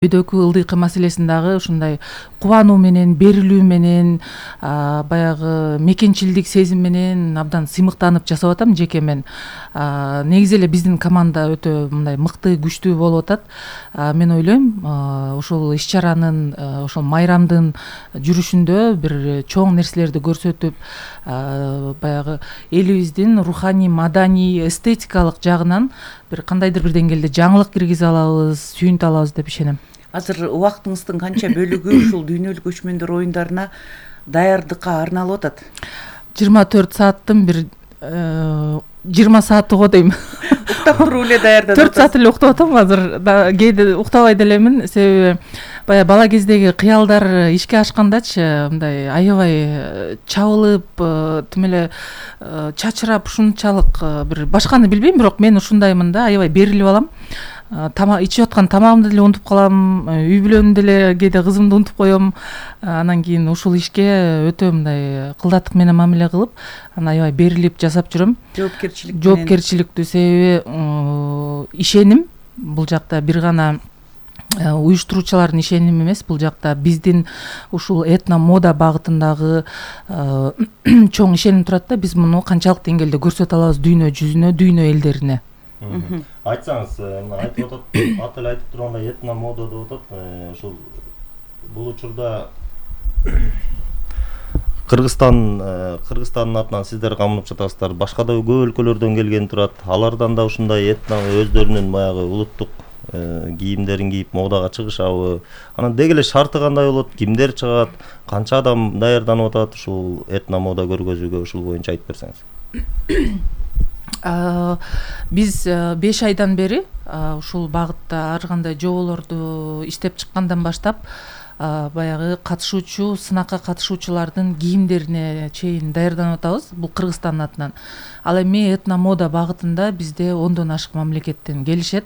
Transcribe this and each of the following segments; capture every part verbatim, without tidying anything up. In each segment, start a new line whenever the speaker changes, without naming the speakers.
Үйдөгү ылдыйкы маселесин дагы ушундай кубануу менен, берилүү менен, баягы мекенчилдик сезим менен абдан сыймыктанып жасап атам жеке мен. Негизи эле биздин команда өтө мындай мыкты, күчтүү болуп атат. Мен ойлойм, ушул иш-чаранын, ошол майрамдын жүрүшүндө бир чоң нерселерди көрсөтүп, баягы элибиздин руханий, маданий, эстетикалык жагынан бир кандайдыр бир деңгээлде жаңылык киргизе алабыз, сүйүнтү алабыз деп ишенем.
Азыр убактыңыздын канча бөлүгү ушул дүйнөлүк көчмөндөр оюндарына даярдыкка арналып атат?
жыйырма төрт сааттын бир жыйырма сааты го дейм.
Уктап туруп эле даярданып
төрт саат эле уктап атам азыр. Кээде уктабай делемин, себеби баягы бала кездеги кыялдар ишке ашкандачы мындай аябай чабылып, тим эле чачырап, ушунчалык бир башканы билбейм, бирок мен ушундаймын да, аябай берилип алам. Тамак ичип аткан тамагымды деле унутуп калам, үй бүлөмдү деле кээде кызымды унутуп коем. Анан кийин ушул ишке өтө мындай кылдаттык менен мамиле кылып, анан аябай берилип жасап жүрөм.
Жоопкерчилик менен.
Жоопкерчиликтүү, себеби ишеним бул жакта бир гана уюштуруучулардын ишеними эмес, бул жакта биздин ушул этно мода багытындагы чоң ишеним турат да, биз муну канчалык деңгээлде көрсөтө алабыз дүйнө жүзүнө, дүйнө элдерине.
Айтсаңыз, мына айтып атат, аты эле айтып тургандай этно мода деп атат. Ушул бул учурда Кыргызстан Кыргызстандын атынан сиздер камынып жатасыздар. Башка да көп өлкөлөрдөн келген турат. Алардан да ушундай этно өздөрүнүн баягы улуттук кийимдерин кийип модага чыгышабы? Анан деги эле шарты кандай болот? Кимдер чыгат? Канча адам даярданып атат ушул этно мода көргөзүүгө? Ушул боюнча айтып берсеңиз.
Биз беш айдан бери ушул багытта ар кандай жоболорду иштеп чыккандан баштап баягы катышуучу, сынакка катышуучулардын кийимдерине чейин даярданып атабыз. Бул Кыргызстандын атынан. Ал эми этно мода багытында бизде ондон ашык мамлекеттен келишет.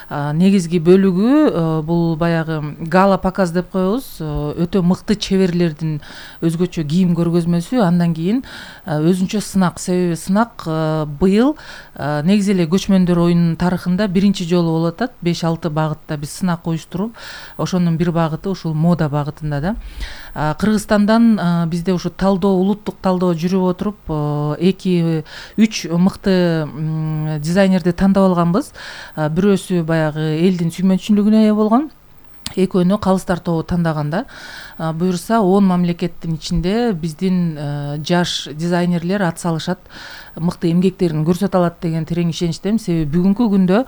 Негизги бөлүгү бул баягы гала показ деп коебуз. Өтө мыкты чеберлердин өзгөчө кийим көргөзмөсү, андан кийин өзүнчө сынак. Себеби сынак быйыл негизи эле көчмөндөр оюнунун тарыхында биринчи жолу болуп атат. беш алты багытта биз сынак уюштуруп, ошонун бир багыты ушул мода багытында да. Кыргызстандан бизде ушу талдоо, улуттук талдоо жүрүп отуруп, эки үч мыкты дизайнерди тандап алганбыз. Бирөөсү баягы элдин сүймөнчүлүгүнө ээ болгон, экөөнү Калыстар тобу тандаганда. Буюрса он мамлекеттин ичинде биздин жаш дизайнерлер ат салышат, мыкты эмгектерин көрсөтө алат деген терең ишеничтемин. Себеби бүгүнкү күндө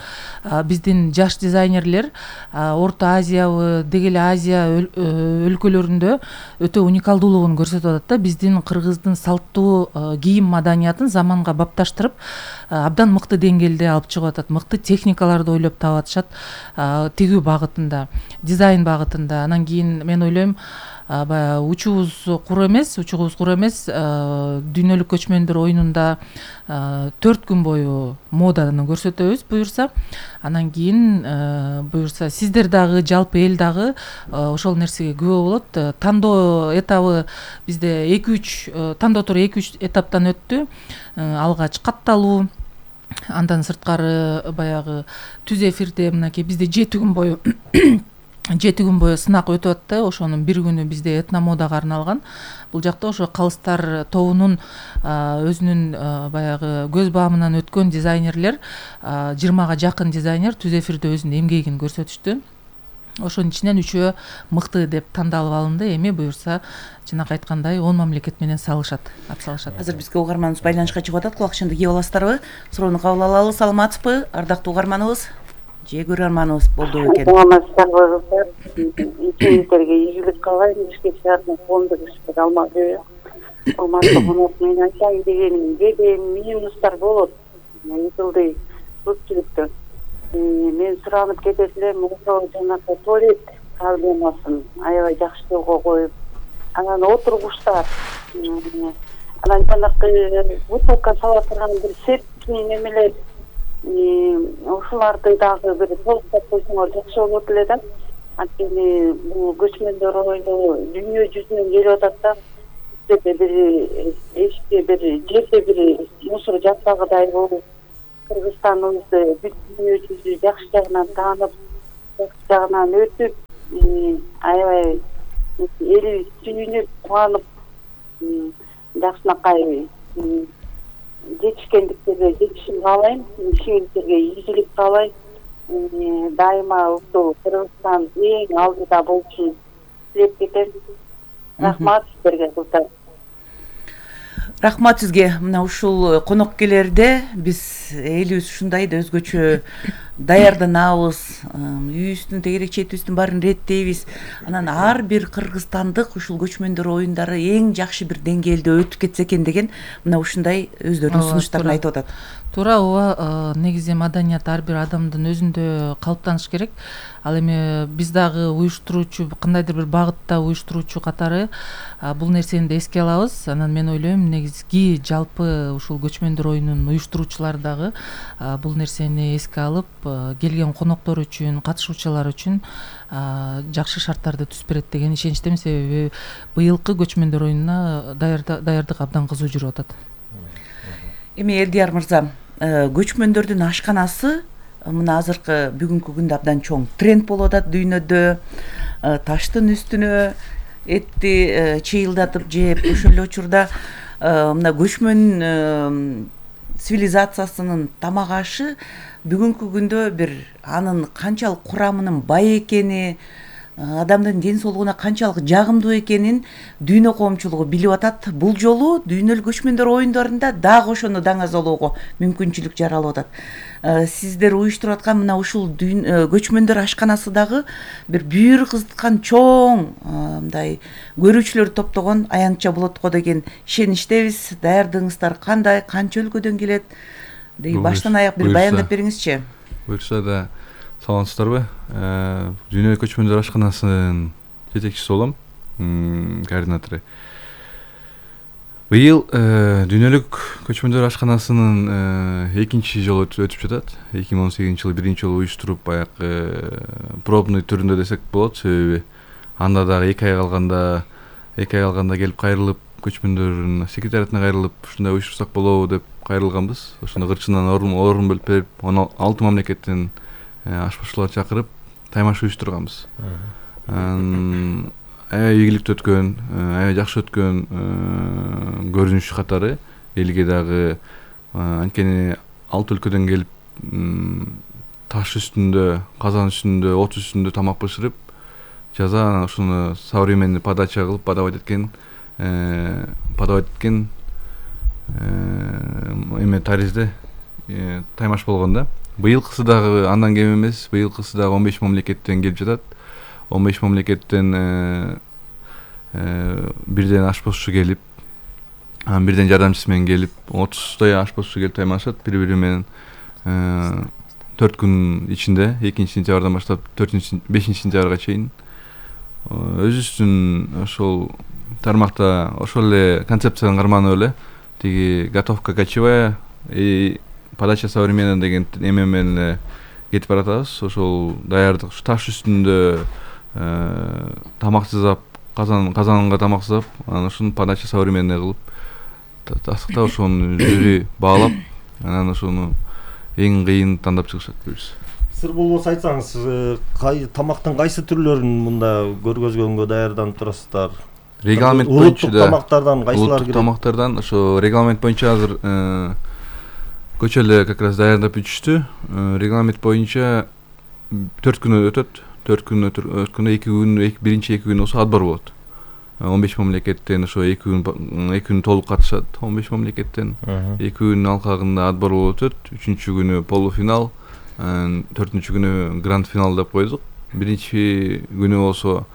биздин жаш дизайнерлер Орто Азиябы, деги эле Азия өлкөлөрүндө өтө уникалдуулугун көрсөтүп атат да. Биздин кыргыздын салттуу кийим маданиятын заманга бапташтырып, абдан мыкты деңгээлде алып чыгып атат. Мыкты техникаларды ойлоп таап атышат тигүү багытында, дизайн багытында. Анан кийин мен ойлойм, баягы учубуз куру эмес, учубуз куру эмес, дүйнөлүк көчмөндөр оюнунда төрт күн бою моданы көрсөтөбүз буюрса. Анан кийин буюрса сиздер дагы, жалпы эл дагы ошол нерсеге күбө болот. Тандоо этабы бизде эки үч тандоо туру эки үч этаптан өттү. Алгач катталуу, андан сырткары баягы түз эфирде мынакей бизде жети күн бою жети күн бою сынак өтүп атты. Ошонун бир күнү бизде этно модага арналган. Бул жакта ошо Калыстар тобунун өзүнүн баягы көз баамынан өткөн дизайнерлер, жыйырмага жакын дизайнер түз эфирде өзүнүн эмгегин көрсөтүштү. Ошонун ичинен үчөө мыкты деп тандалып алынды. Эми буюрса жанагы айткандай он мамлекет менен салышат, ат салышат.
Азыр бизге угарманыбыз байланышка чыгып атат. Кулакчынды кийип аласыздарбы? Суроону кабыл алалы. Саламатсызбы, ардактуу угарманыбыз? Же көрөрманыбыз болду экен.
Саламатсыздарбы? Ичиңиздерге ийгилик каалайм. Бишкек шаарынын коомдук иштери Алмазбек. Урматтуу конок, мен айтайын дегеним, кээде минустар болот. Айтылды көпчүлүктө. Мен суранып кетет элем, ошо жанагы туалет проблемасын аябай жакшы жолго коюп, анан отургучтар, анан жанагы бутылка сала турган бир септик немелер, ушуларды дагы бир толуктап койсоңор жакшы болот эле да. Анткени бул көчмөндөр оюну дүйнө жүзүнөн келип атат да. Бизде бир эшикте бир жерде бир мусор жатпагыдай болуп, Кыргызстаныбызды бүт дүйнө жүзү жакшы жагынан таанып, жагынан өтүп аябай элибиз сүйүнүп кубанып жакшынакай жетишкендиктерге жетишин каалайм. Ишиңиздерге ийгилик каалайм. Дайыма ушул Кыргызстан эң алдыда болушун тилеп кетем. Рахмат сиздерге кыздар.
Рахмат сизге. Мына ушул коноккелерде биз элибиз ушундай да өзгөчө даярданабыз, үйүбүздүн тегерек четибиздин баарын иреттейбиз. Анан ар бир кыргызстандык ушул көчмөндөр оюндары эң жакшы бир деңгээлде өтүп кетсе экен деген мына ушундай өздөрүнүн сунуштарын айтып атат.
Туура, ооба, негизи маданият ар бир адамдын өзүндө калыптаныш керек. Ал эми биз дагы уюштуруучу, кандайдыр бир багытта уюштуруучу катары бул нерсени да эске алабыз. Анан мен ойлойм, негизги жалпы ушул көчмөндөр оюнунун уюштуруучулар дагы бул нерсени эске алып, келген коноктор үчүн, катышуучулар үчүн жакшы шарттарды түзүп берет деген ишеничтемин. Себеби быйылкы көчмөндөр оюнуна даярдык абдан кызуу жүрүп атат.
Эми Элдияр мырза, көчмөндөрдүн ашканасы мына азыркы бүгүнкү күндө абдан чоң тренд болуп атат дүйнөдө. Таштын үстүнө этти чыйылдатып жеп, ошол эле учурда мына көчмөн цивилизациясынын тамак ашы бүгүнкү күндө бир анын канчалык курамынын бай экени, адамдын ден соолугуна канчалык жагымдуу экенин дүйнө коомчулугу билип атат. Бул жолу дүйнөлүк көчмөндөр оюндарында дагы ошону даңазалоого мүмкүнчүлүк жаралып атат. Сиздер уюштуруп аткан мына ушул көчмөндөр ашканасы дагы бир бүйүр кызыткан чоң мындай көрүүчүлөрдү топтогон аянтча болот го деген ишеничтебиз. Даярдыгыңыздар кандай, канча өлкөдөн келет? Баштан аяк бир баяндап бериңизчи.
Буюрса да саламатсыздарбы? Дүйнөлүк көчмөндөр ашканасынын жетекчиси болом, координатору. Быйыл дүйнөлүк көчмөндөр ашканасынын экинчи жолу өтүп жатат. эки миң он сегизинчи жылы биринчи жолу уюштуруп, баягы пробный түрүндө десек болот. Себеби анда дагы эки ай калганда, эки ай калганда келип кайрылып, көчмөндөрдүн секретариатына кайрылып, ушундай уюштурсак болобу деп кайрылганбыз. Ошондо кырчынан орун орун бөлүп берип, он алты мамлекеттен ашпазчылар чакырып, таймаш уюштурганбыз. Аябай ийгиликтүү өткөн, аябай жакшы өткөн көрүнүш катары элге дагы анткени алты өлкөдөн келип таш үстүндө, казан үстүндө, от үстүндө тамак бышырып, жаза анан ушуну современный подача кылып подавать эткен, подавать эткен эме таризде таймаш болгон да. Быйылкысы дагы андан кем эмес. Быйылкысы дагы он беш мамлекеттен келип жатат. он беш мамлекеттен бирден ашпозчу келип, анан бирден жардамчысы менен келип, отуздай ашпозчу келип таймашат бири-бири менен. төрт күн ичинде, экинчи сентябрдан баштап бешинчи сентябрга чейин өзүбүздүн ошол тармакта ошол эле концепцияны карманып эле тиги готовка кочевая и подача современная деген эме менен эле кетип баратабыз. Ошол даярдык таш үстүндө тамак сызап, казан казанга тамак сызап, анан ошону подача современная кылып, тастыктап ошону жюри баалап, анан ошону эң кыйын тандап чыгышат буюрса.
Сыр болбосо айтсаңыз, тамактын кайсы түрлөрүн мында көргөзгөнгө даярданып турасыздар?
Регламент боюнча
улуттук тамактардан кайсылар кирет?
Улуттук тамактардан ошо регламент боюнча азыр көчө эле как раз даярдап бүтүштү. Регламент боюнча төрт күн өтөт. төрт күн өткөндө эки күн, биринчи эки күн болсо отбор болот. он беш мамлекеттен ошо эки күн эки күн толук катышат. он беш мамлекеттен эки күн алкагында отбор болуп өтөт. үчүнчү күнү полуфинал, төртүнчү күнү гранд финал деп койдук. Биринчи күнү болсо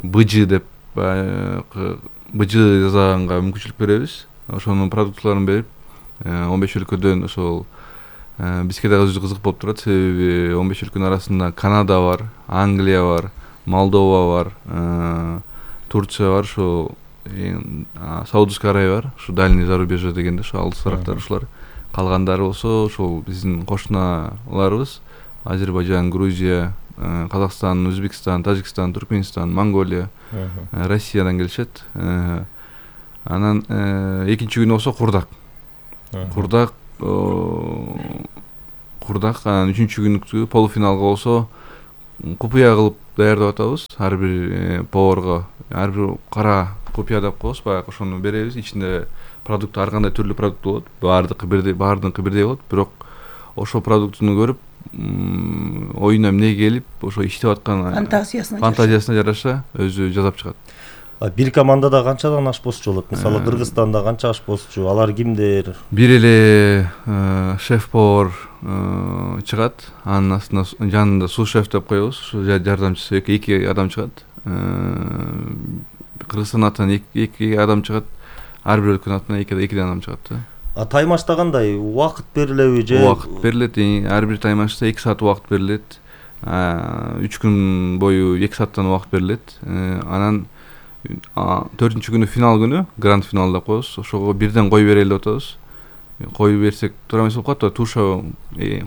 быжы деп быжы жасаганга мүмкүнчүлүк беребиз. Ошонун продукцияларын берип, он беш өлкөдөн ошол бизге дагы өзү кызык болуп турат. Себеби он беш өлкөнүн арасында Канада бар, Англия бар, Молдова бар, Турция бар, ошо Саудовская Аравия бар, ошо дальний зарубежье дегенде, ошо алысырактар ушулар. Калгандары болсо ошол биздин кошуналарыбыз: Азербайжан, Грузия, Казакстан, Өзбекстан, Тажикстан, Туркменистан, Монголия, Россиядан келишет. Анан экинчи күнү болсо Курдак. Курдак Курдак анан үчүнчү күнү полуфиналга болсо купуя кылып даярдап атабыз. Ар бир поварга ар бир кара купуя деп коебуз. Баягы ошону беребиз. Ичинде продукт ар кандай түрлүү продукт болот. Баардыгы бирдей, баардыгы бирдей болот. Бирок ошол продуктуну көрүп, оюна эмне келип, ошо иштеп аткан
фантазиясына
фантазиясына жараша өзү жасап чыгат.
Бир командада канчадан ашпозчу болот? Мисалы Кыргызстанда канча ашпозчу? Алар кимдер?
Бир эле шеф-повар чыгат. Анын астына жанында су-шеф деп коебуз. Ушу жардамчысы эки адам чыгат. Кыргызстан атынан эки адам чыгат. Ар бир өлкөнүн атынан эки адам чыгат.
А таймашта кандай? Убакыт берилеби же?
Убакыт берилет. Ар бир таймашта эки саат убакыт берилет. үч күн бою эки сааттан убакыт берилет. Анан төртүнчү күнү финал күнү, гранд финал деп коебуз. Ошого бирден кой берели деп атабыз. Кой берсек туура эмес болуп калат. Туша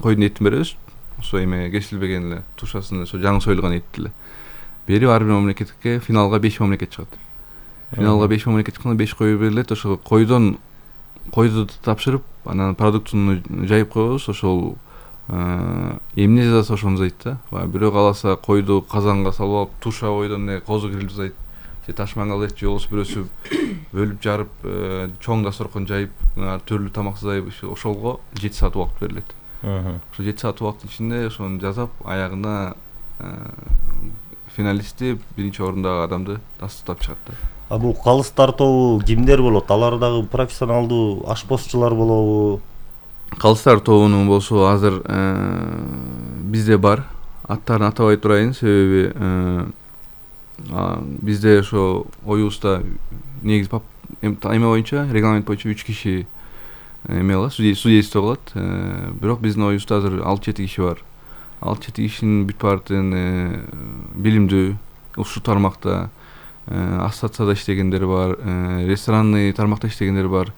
койдун этин беребиз. Ошо эме кесилбеген эле тушасын ошо жаңы союлган этти эле берип ар бир мамлекетке финалга беш мамлекет чыгат. Финалга беш мамлекет чыкканда беш кой берилет. Ошо койдон койду тапшырып, анан продуктуну жайып коебуз. Ошол эмне жасаса ошону жасайт да. Бирөө кааласа койду казанга салып алып, туша койдон эле козу гриль жасайт. Же таш мангал же болбосо бирөөсү бөлүп жарып, чоң дасторкон жайып, түрлүү тамак жасайып, ошолго жети саат убакыт берилет. Ошо жети саат убакыттын ичинде ошону жасап, аягында финалистти биринчи орундагы адамды тастап чыгат да.
А бул калыстар тобу кимдер болот? Алар дагы профессионалдуу ашпозчулар болобу?
Калыстар тобунун болсо азыр бизде бар. Аттарын атабай турайын, себеби бизде ошо оюбузда негизи эме боюнча, регламент боюнча үч киши эме кылат, судейство кылат. Бирок биздин оюбузда азыр алты жети киши бар. алты жети кишинин бүт баардыгын билимдүү, ушул тармакта ассоциацияда иштегендер бар, ресторанный тармакта иштегендер бар,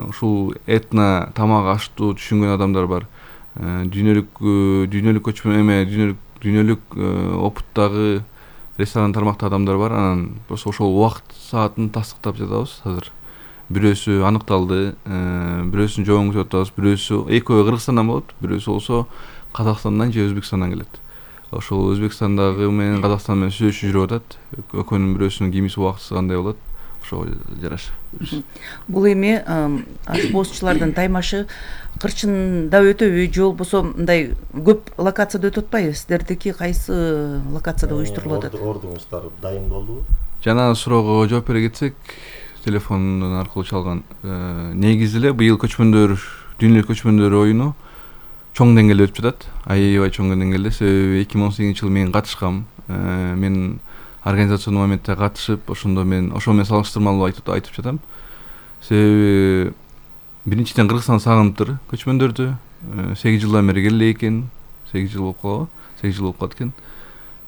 ушул этно тамак аштуу түшүнгөн адамдар бар. Дүйнөлүк дүйнөлүк көчмөн эме дүйнөлүк дүйнөлүк опыттагы ресторан тармакта адамдар бар. Анан просто ошол убакыт саатын тастыктап жатабыз азыр. Бирөөсү аныкталды, бирөөсүн жобон күтүп атабыз, бирөөсү экөө Кыргызстандан болот, бирөөсү болсо Казакстандан же Өзбекстандан келет. Ошол Өзбекстандагы менен Казакстан менен сүйлөшүү жүрүп атат. Экөөнүн бирөөсүнүн кимиси убактысы кандай болот? Ошого жараша.
Бул эми ашпозчулардын таймашы кырчында өтөбү же болбосо мындай көп локацияда өтүп атпайбы? Сиздердики кайсы локацияда уюштурулуп атат?
Ордуңуздар дайын болдубу?
Жана суроого жооп бере кетсек, телефондон аркылуу чалган. Негизи эле быйыл көчмөндөр, дүйнөлүк көчмөндөр оюну чоң деңгээлде өтүп жатат. Аябай чоң деңгээлде. Себеби эки миң он сегизинчи жылы мен катышкам. Мен организацион моментте катышып, ошондо мен ошо менен салыштырмалуу айтып айтып жатам. Себеби биринчиден Кыргызстан сагынып көчмөндөрдү. сегиз жылдан бери келе экен. сегиз жыл болуп калабы? сегиз жыл болуп калат экен.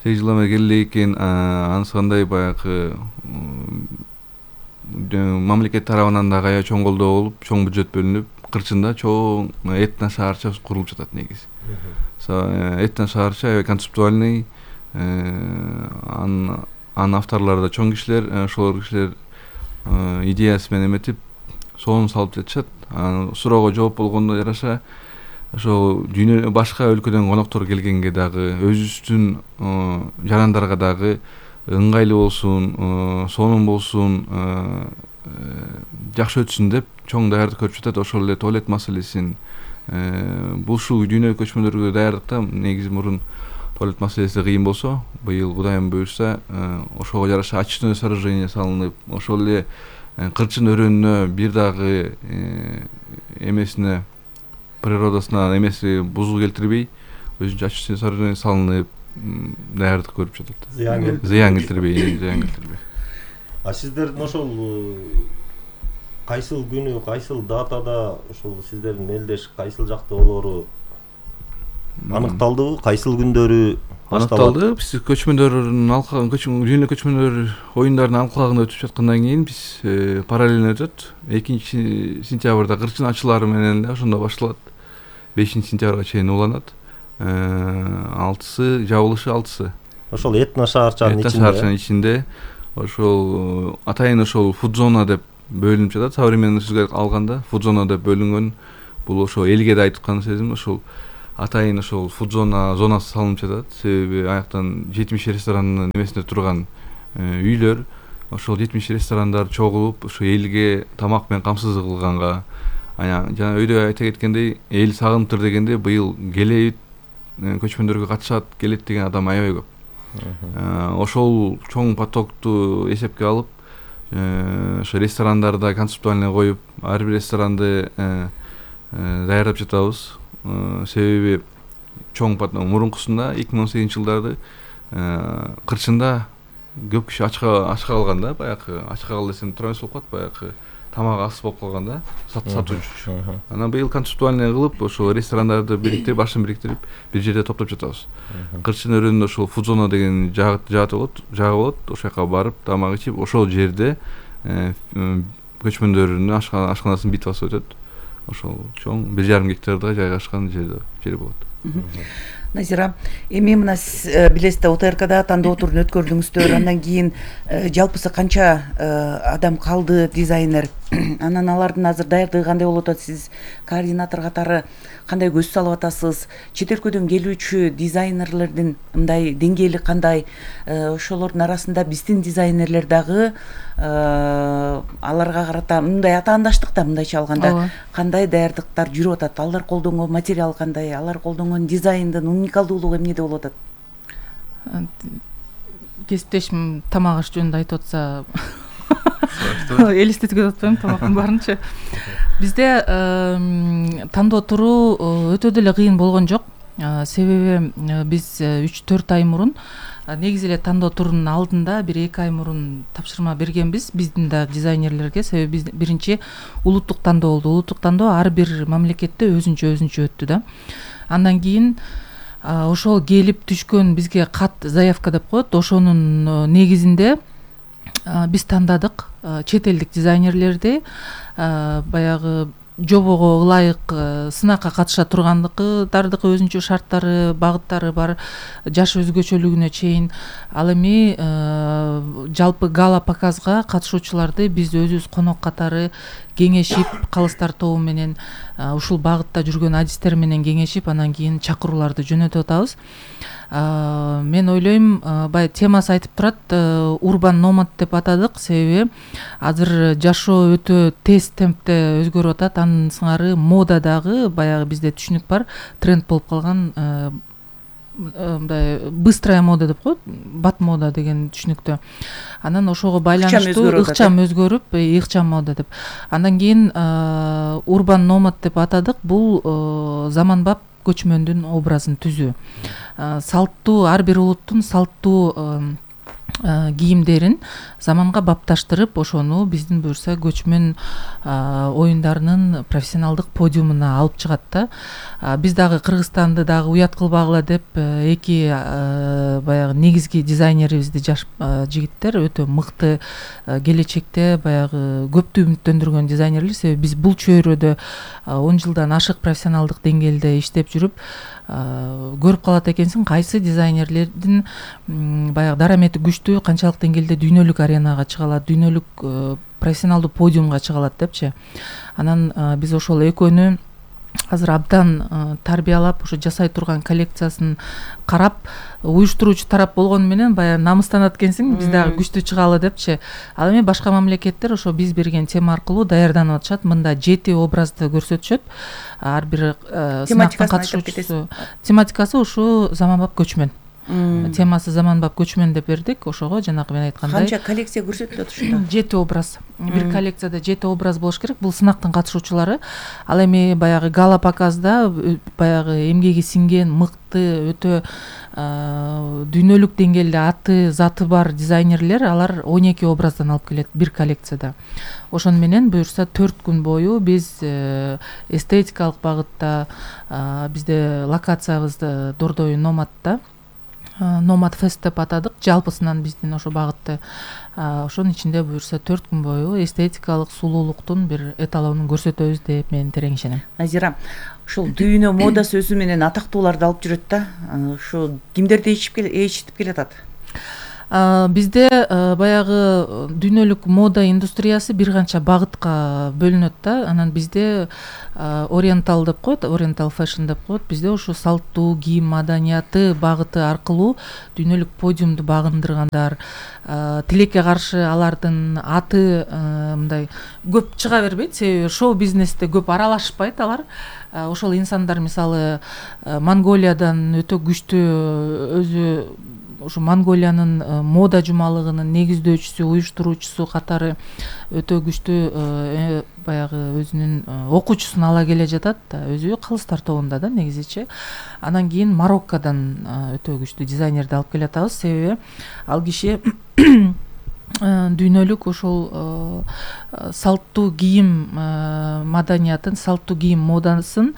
сегиз жылдан бери келе экен. Анысы кандай баягы мамлекет тарабынан да аябай чоң колдоо болуп, чоң бюджет бөлүнүп, кырчында чоң этно шаарча курулуп жатат негизи. Этно шаарча аябай концептуальный, анын авторлору да чоң кишилер, ошол кишилер идеясы менен эметип, сонун салып жатышат. Анан суроого жооп болгондо жараша ошо дүйнө башка өлкөдөн коноктор келгенге дагы, өзүбүздүн жарандарга дагы ыңгайлуу болсун, сонун болсун, жакшы өтсүн деп чоң даярдык көрүп жатат. Ошол эле туалет маселесин бул ушул дүйнөлүк көчмөндөргө даярдыкта негизи мурун туалет маселеси кыйын болсо, быйыл Кудайым буйрса ошого жараша очистное сооружение салынып, ошол эле кырчын өрөөнүнө бир дагы эмесине, природасына эмеси бузуу келтирбей, өзүнчө очистное сооружение салынып, даярдык көрүп жатат. Зыян келтирбей, зыян келтирбей.
А сиздердин ошол кайсыл күнү, кайсыл датада ошол сиздердин мелдеш кайсыл жакта болоору аныкталдыбы? Кайсыл күндөрү
аныкталды? Биз көчмөндөрдүн алкагын, дүйнөлүк көчмөндөр оюндарынын алкагында өтүп жаткандан кийин биз параллельно өтөт. экинчи сентябрда кырчын ачылары менен эле ошондо башталат. бешинчи сентябрга чейин уланат. алтысы жабылышы алтысы.
Ошол этно шаарчанын ичинде.
Этно шаарчанын ичинде ошол атайын ошол фуд-зона деп бөлүнүп жатат. Современный сөзгө алганда фуд-зона деп бөлүнгөн. Бул ошо элге да айтып аткан сезим, ошол атайын ошол фуд зона зонасы салынып жатат. Себеби аяктан жетимиш ресторанын немесинде турган үйлөр, ошол жетимиш ресторандар чогулуп ошо элге тамак менен камсыздык кылганга, жана өйдө айта кеткендей, эл сагынтыр дегенде быйыл келебит, көчмөндөргө катышат, келет деген адам аябай көп. Ошол чоң потокту эсепке алып, ошо ресторандарда концептуальный коюп, ар бир ресторанды даярдап жатабыз. Себеби чоң поток мурункусунда эки миң он сегизинчи жылдарды кырчында көп киши ачка ачка калган да, баягы ачка кал десем туура эмес болуп калат, баягы тамак аз болуп калган да, сатуучу. Анан быйыл концептуальный кылып, ошо ресторандарды бириктирип, башын бириктирип, бир жерде топтоп жатабыз. Кырчын өрөөнүндө ошол фуд зона деген жагы болот, жагы болот, ошол жака барып, тамак ичип, ошол жерде көчмөндөрдүн ашканасынын битвасы өтөт. Ошол чоң бир жарым гектарда жайгашкан жерде жер болот.
Назира, эми мына сиз билесиз да, ОТРКда тандоо турун өткөрдүңүздөр, андан кийин жалпысы канча адам калды, дизайнер, анан алардын азыр даярдыгы кандай болуп атат, сиз координатор катары кандай көз салып атасыз, чет өлкөдөн келүүчү дизайнерлердин мындай деңгээли кандай, ошолордун арасында биздин дизайнерлер дагы аларга карата мындай атаандаштыкта, мындайча алганда кандай даярдыктар жүрүп атат, алар колдонгон материал кандай, алар колдонгон дизайндын уникалдуулугу эмнеде болуп атат?
Кесиптешим тамак аш жөнүндө айтып атса элестетүүгө атпайм, тамактын баарынча. Бизде тандоо туруу өтө деле кыйын болгон жок. Себеби биз үч төрт ай мурун, негизи эле тандоо турунун алдында бир эки ай мурун тапшырма бергенбиз биздин да дизайнерлерге. Себеби биз биринчи улуттук тандоо болду. Улуттук тандоо ар бир мамлекетте өзүнчө өзүнчө өттү да. Андан кийин ошол келип түшкөн бизге кат, заявка деп коет, ошонун негизинде биз тандадык чет элдик дизайнерлерди, баягы жобого ылайык сынакка катыша тургандыкдардыкы өзүнчө шарттары, багыттары бар, жаш өзгөчөлүгүнө чейин. Ал эми жалпы гала показга катышуучуларды биз өзүбүз конок катары кеңешип, калыстар тобу менен ушул багытта жүргөн адистер менен кеңешип, анан кийин чакырууларды жөнөтүп атабыз. Мен ойлойм, бай темасы айтып турат, урбан номад деп атадык, себеби азыр жашоо өтө тез темпте өзгөрүп атат. Анын сыңары мода дагы баягы бизде түшүнүк бар, тренд болуп калган, мындай быстрая мода деп коет, бат мода деген түшүнүктө. Анан ошого байланыштуу ыкчам өзгөрүп, ыкчам мода деп. Андан кийин урбан номад деп атадык. Бул заманбап көчмөндүн образын түзүү. Салттуу, ар бир улуттун салттуу кийимдерин заманга бапташтырып, ошону биздин буюрса көчмөн оюндарынын профессионалдык подиумуна алып чыгат да. Биз дагы Кыргызстанды дагы уят кылбагыла деп эки баягы негизги дизайнерибизди, жаш жигиттер, өтө мыкты, келечекте баягы көптү үмүттөндүргөн дизайнерлер. Себеби биз бул чөйрөдө он жылдан ашык профессионалдык деңгээлде иштеп жүрүп, көрүп калат экенсиң, кайсы дизайнерлердин баягы дарамети күчтүү, канчалык деңгээлде дүйнөлүк аренага чыга алат, дүйнөлүк профессионалдуу подиумга чыга алат депчи. Анан биз ошол экөөнү азыр абдан тарбиялап, ошо жасай турган коллекциясын карап, уюштуруучу тарап болгону менен баягы намыстанат экенсиң, биз дагы күчтүү чыгалы депчи. Ал эми башка мамлекеттер ошо биз берген тема аркылуу даярданып атышат. Мында жети образды көрсөтүшөт. Ар бир сынактын катышуучусу. Тематикасы ушу заманбап көчмөн. Темасы заманбап көчмөн деп бердик. Ошого жанагы мен айткандай.
Канча коллекция көрсөтүлөт ушунда? жети образ. Бир коллекцияда жети образ болуш керек. Бул сынактын катышуучулары. Ал эми баягы гала показда баягы эмгеги сиңген, мыкты, өтө дүйнөлүк деңгээлде аты, заты бар дизайнерлер, алар он эки образдан алып келет бир коллекцияда. Ошону менен буюрса төрт күн бою биз эстетикалык багытта, бизде локациябыз Дордой Номадта, Номад фест деп атадык, жалпысынан биздин ошо багытты. Ошонун ичинде буюрса төрт күн бою эстетикалык сулуулуктун бир эталонун көрсөтөбүз деп мен терең ишенем. Назира, ушул дүйнө модасы өзү менен атактууларды алып жүрөт да. Ушу кимдерди ичип ичитип келатат?
Бизде баягы дүйнөлүк мода индустриясы бир канча багытка бөлүнөт да. Анан бизде ориентал деп коет, ориентал фэшн деп коет. Бизде ушу салттуу кийим маданияты багыты аркылуу дүйнөлүк подиумду багындыргандар, тилекке каршы алардын аты мындай көп чыга бербейт, себеби шоу бизнесте көп аралашпайт алар. Ошол инсандар мисалы Монголиядан өтө күчтүү өзү ушу Монголиянын мода жумалыгынын негиздөөчүсү, уюштуруучусу катары өтө күчтүү баягы өзүнүн окуучусун ала келе жатат да, өзү калыстар тобунда да негизичи. Анан кийин Мароккодон өтө күчтүү дизайнерди алып келатабыз, себеби ал киши дүйнөлүк ошол салттуу кийим маданиятын, салттуу кийим модасын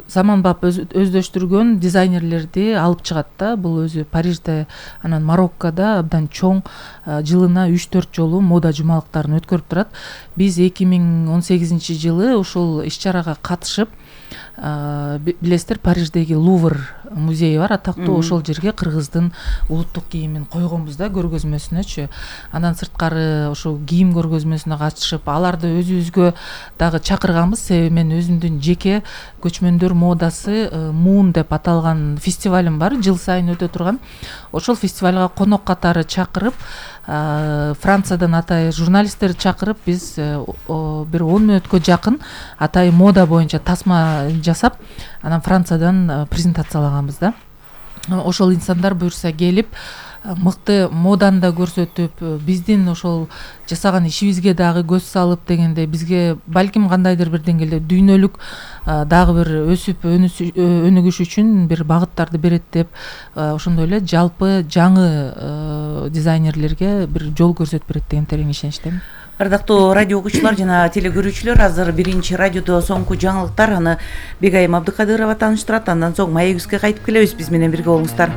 заманбап өздөштүргөн дизайнерлерди алып чыгат да. Бул өзү Парижде, анан Мароккодо абдан чоң, жылына үч төрт жолу мода жумалыктарын өткөрүп турат. Биз эки миң он сегизинчи жылы ушул иш-чарага катышып, билесиздер, Париждеги Лувр музейи бар, атактуу. Ошол жерге кыргыздын улуттук кийимин койгонбуз да, көргөзмөсүнөчү. Андан сырткары ошол кийим көргөзмөсүнө катышып, аларды өзүбүзгө дагы чакырганбыз, себеби мен өзүмдүн жеке көчмөндөр модасы Муун деп аталган фестивалым бар, жыл сайын өтө турган. Ошол фестивалга конок катары чакырып, Франциядан атайын журналисттерди чакырып, биз бир он мүнөткө жакын атайын мода боюнча тасма жасап, анан Франциядан презентациялаганбыз да. Ошол инсандар буюрса келип, мыкты моданы да көрсөтүп, биздин ошол жасаган ишибизге дагы көз салып дегенде, бизге балким кандайдыр бир деңгээлде дүйнөлүк дагы бир өсүп өнүгүш үчүн бир багыттарды берет деп, ошондой эле жалпы жаңы дизайнерлерге бир жол көрсөтүп берет деген терең ишеничтемин.
Ардактуу радио окуучулар жана телекөрүүчүлөр, азыр биринчи радиодо соңку жаңылыктар, аны Бегайым Абдыкадырова тааныштырат. Андан соң маегибизге кайтып келебиз. Биз менен бирге болуңуздар.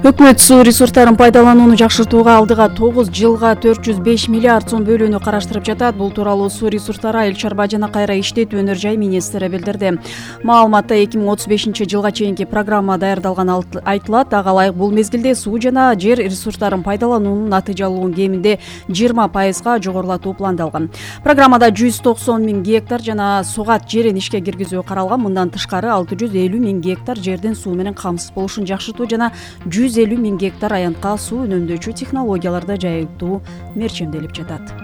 Өкмөт суу ресурстарын пайдаланууну жакшыртууга алдыга тогуз жылга төрт жүз беш миллиард сом бөлүүнү караштырып жатат. Бул тууралуу Суу ресурстары, айыл чарба жана кайра иштетүү өнөр жай министри билдирди. Маалыматта эки миң отуз бешинчи жылга чейинки программа даярдалганы айтылат. Ага ылайык бул мезгилде суу жана жер ресурстарын пайдалануунун натыйжалуулугун кеминде жыйырма пайызга жогорулатуу пландалган. Программада жүз токсон миң гектар жана сугат жерин ишке киргизүү каралган. Мындан тышкары алты жүз элүү миң гектар жердин суу менен камсыз болушун жакшыртуу жана жүз элүү миң гектар аянтка суу үнөмдөөчү технологияларды жайылтуу мерчемделип жатат.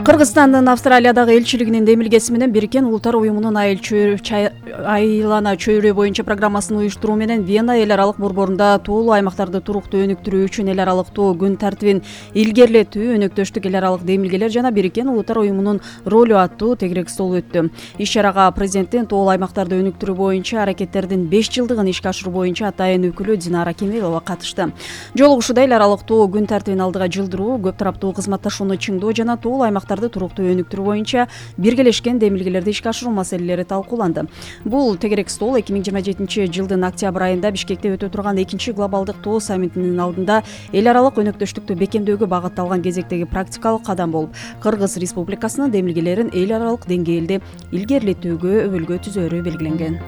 Кыргызстандын Австралиядагы элчилигинин демилгеси менен Бириккен Улуттар уюмунун айлана чөйрө боюнча программасын уюштуруу менен Вена эл аралык борборунда туулуу аймактарды туруктуу өнүктүрүү үчүн эл аралыктуу күн тартибин илгерлетүү, өнөктөштүк, эл аралык демилгелер жана Бириккен Улуттар уюмунун ролу аттуу тегерек стол өттү. Иш-чарага президенттин туулуу аймактарды өнүктүрүү боюнча аракеттердин беш жылдыгын ишке ашыруу боюнча атайын өкүлү Динара Кемелова катышты. Жолугушууда эл аралыктуу күн тартибин алдыга жылдыруу, көп тараптуу кызматташууну чыңдоо жана туулуу аймактарды туруктуу өнүктүрүү боюнча биргелешкен демилгелерди ишке ашыруу маселелери талкууланды. Бул тегерек стол эки миң жыйырма жетинчи жылдын октябрь айында Бишкекте өтө турган экинчи глобалдык тоо саммитинин алдында эл аралык өнөктөштүктү бекемдөөгө багытталган кезектеги практикалык кадам болуп, Кыргыз Республикасынын демилгелерин эл аралык деңгээлде илгерилетүүгө өбөлгө түзөөрү белгиленген.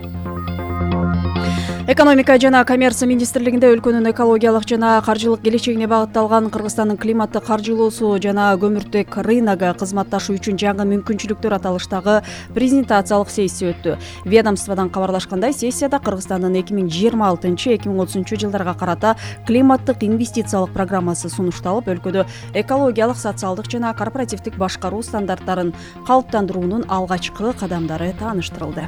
Экономика жана коммерция министрлигинде өлкөнүн экологиялык жана каржылык келечегине багытталган Кыргызстандын климатты каржылоосу жана көмүртек рыногу кызматташуу үчүн жаңы мүмкүнчүлүктөр аталыштагы презентациялык сессия өттү. Ведомстводон кабарлашкандай, сессияда Кыргызстандын эки миң жыйырма алтынчы эки миң отузунчу жылдарга карата климаттык инвестициялык программасы сунушталып, өлкөдө экологиялык, социалдык жана корпоративдик башкаруу стандарттарын калыптандыруунун алгачкы кадамдары тааныштырылды.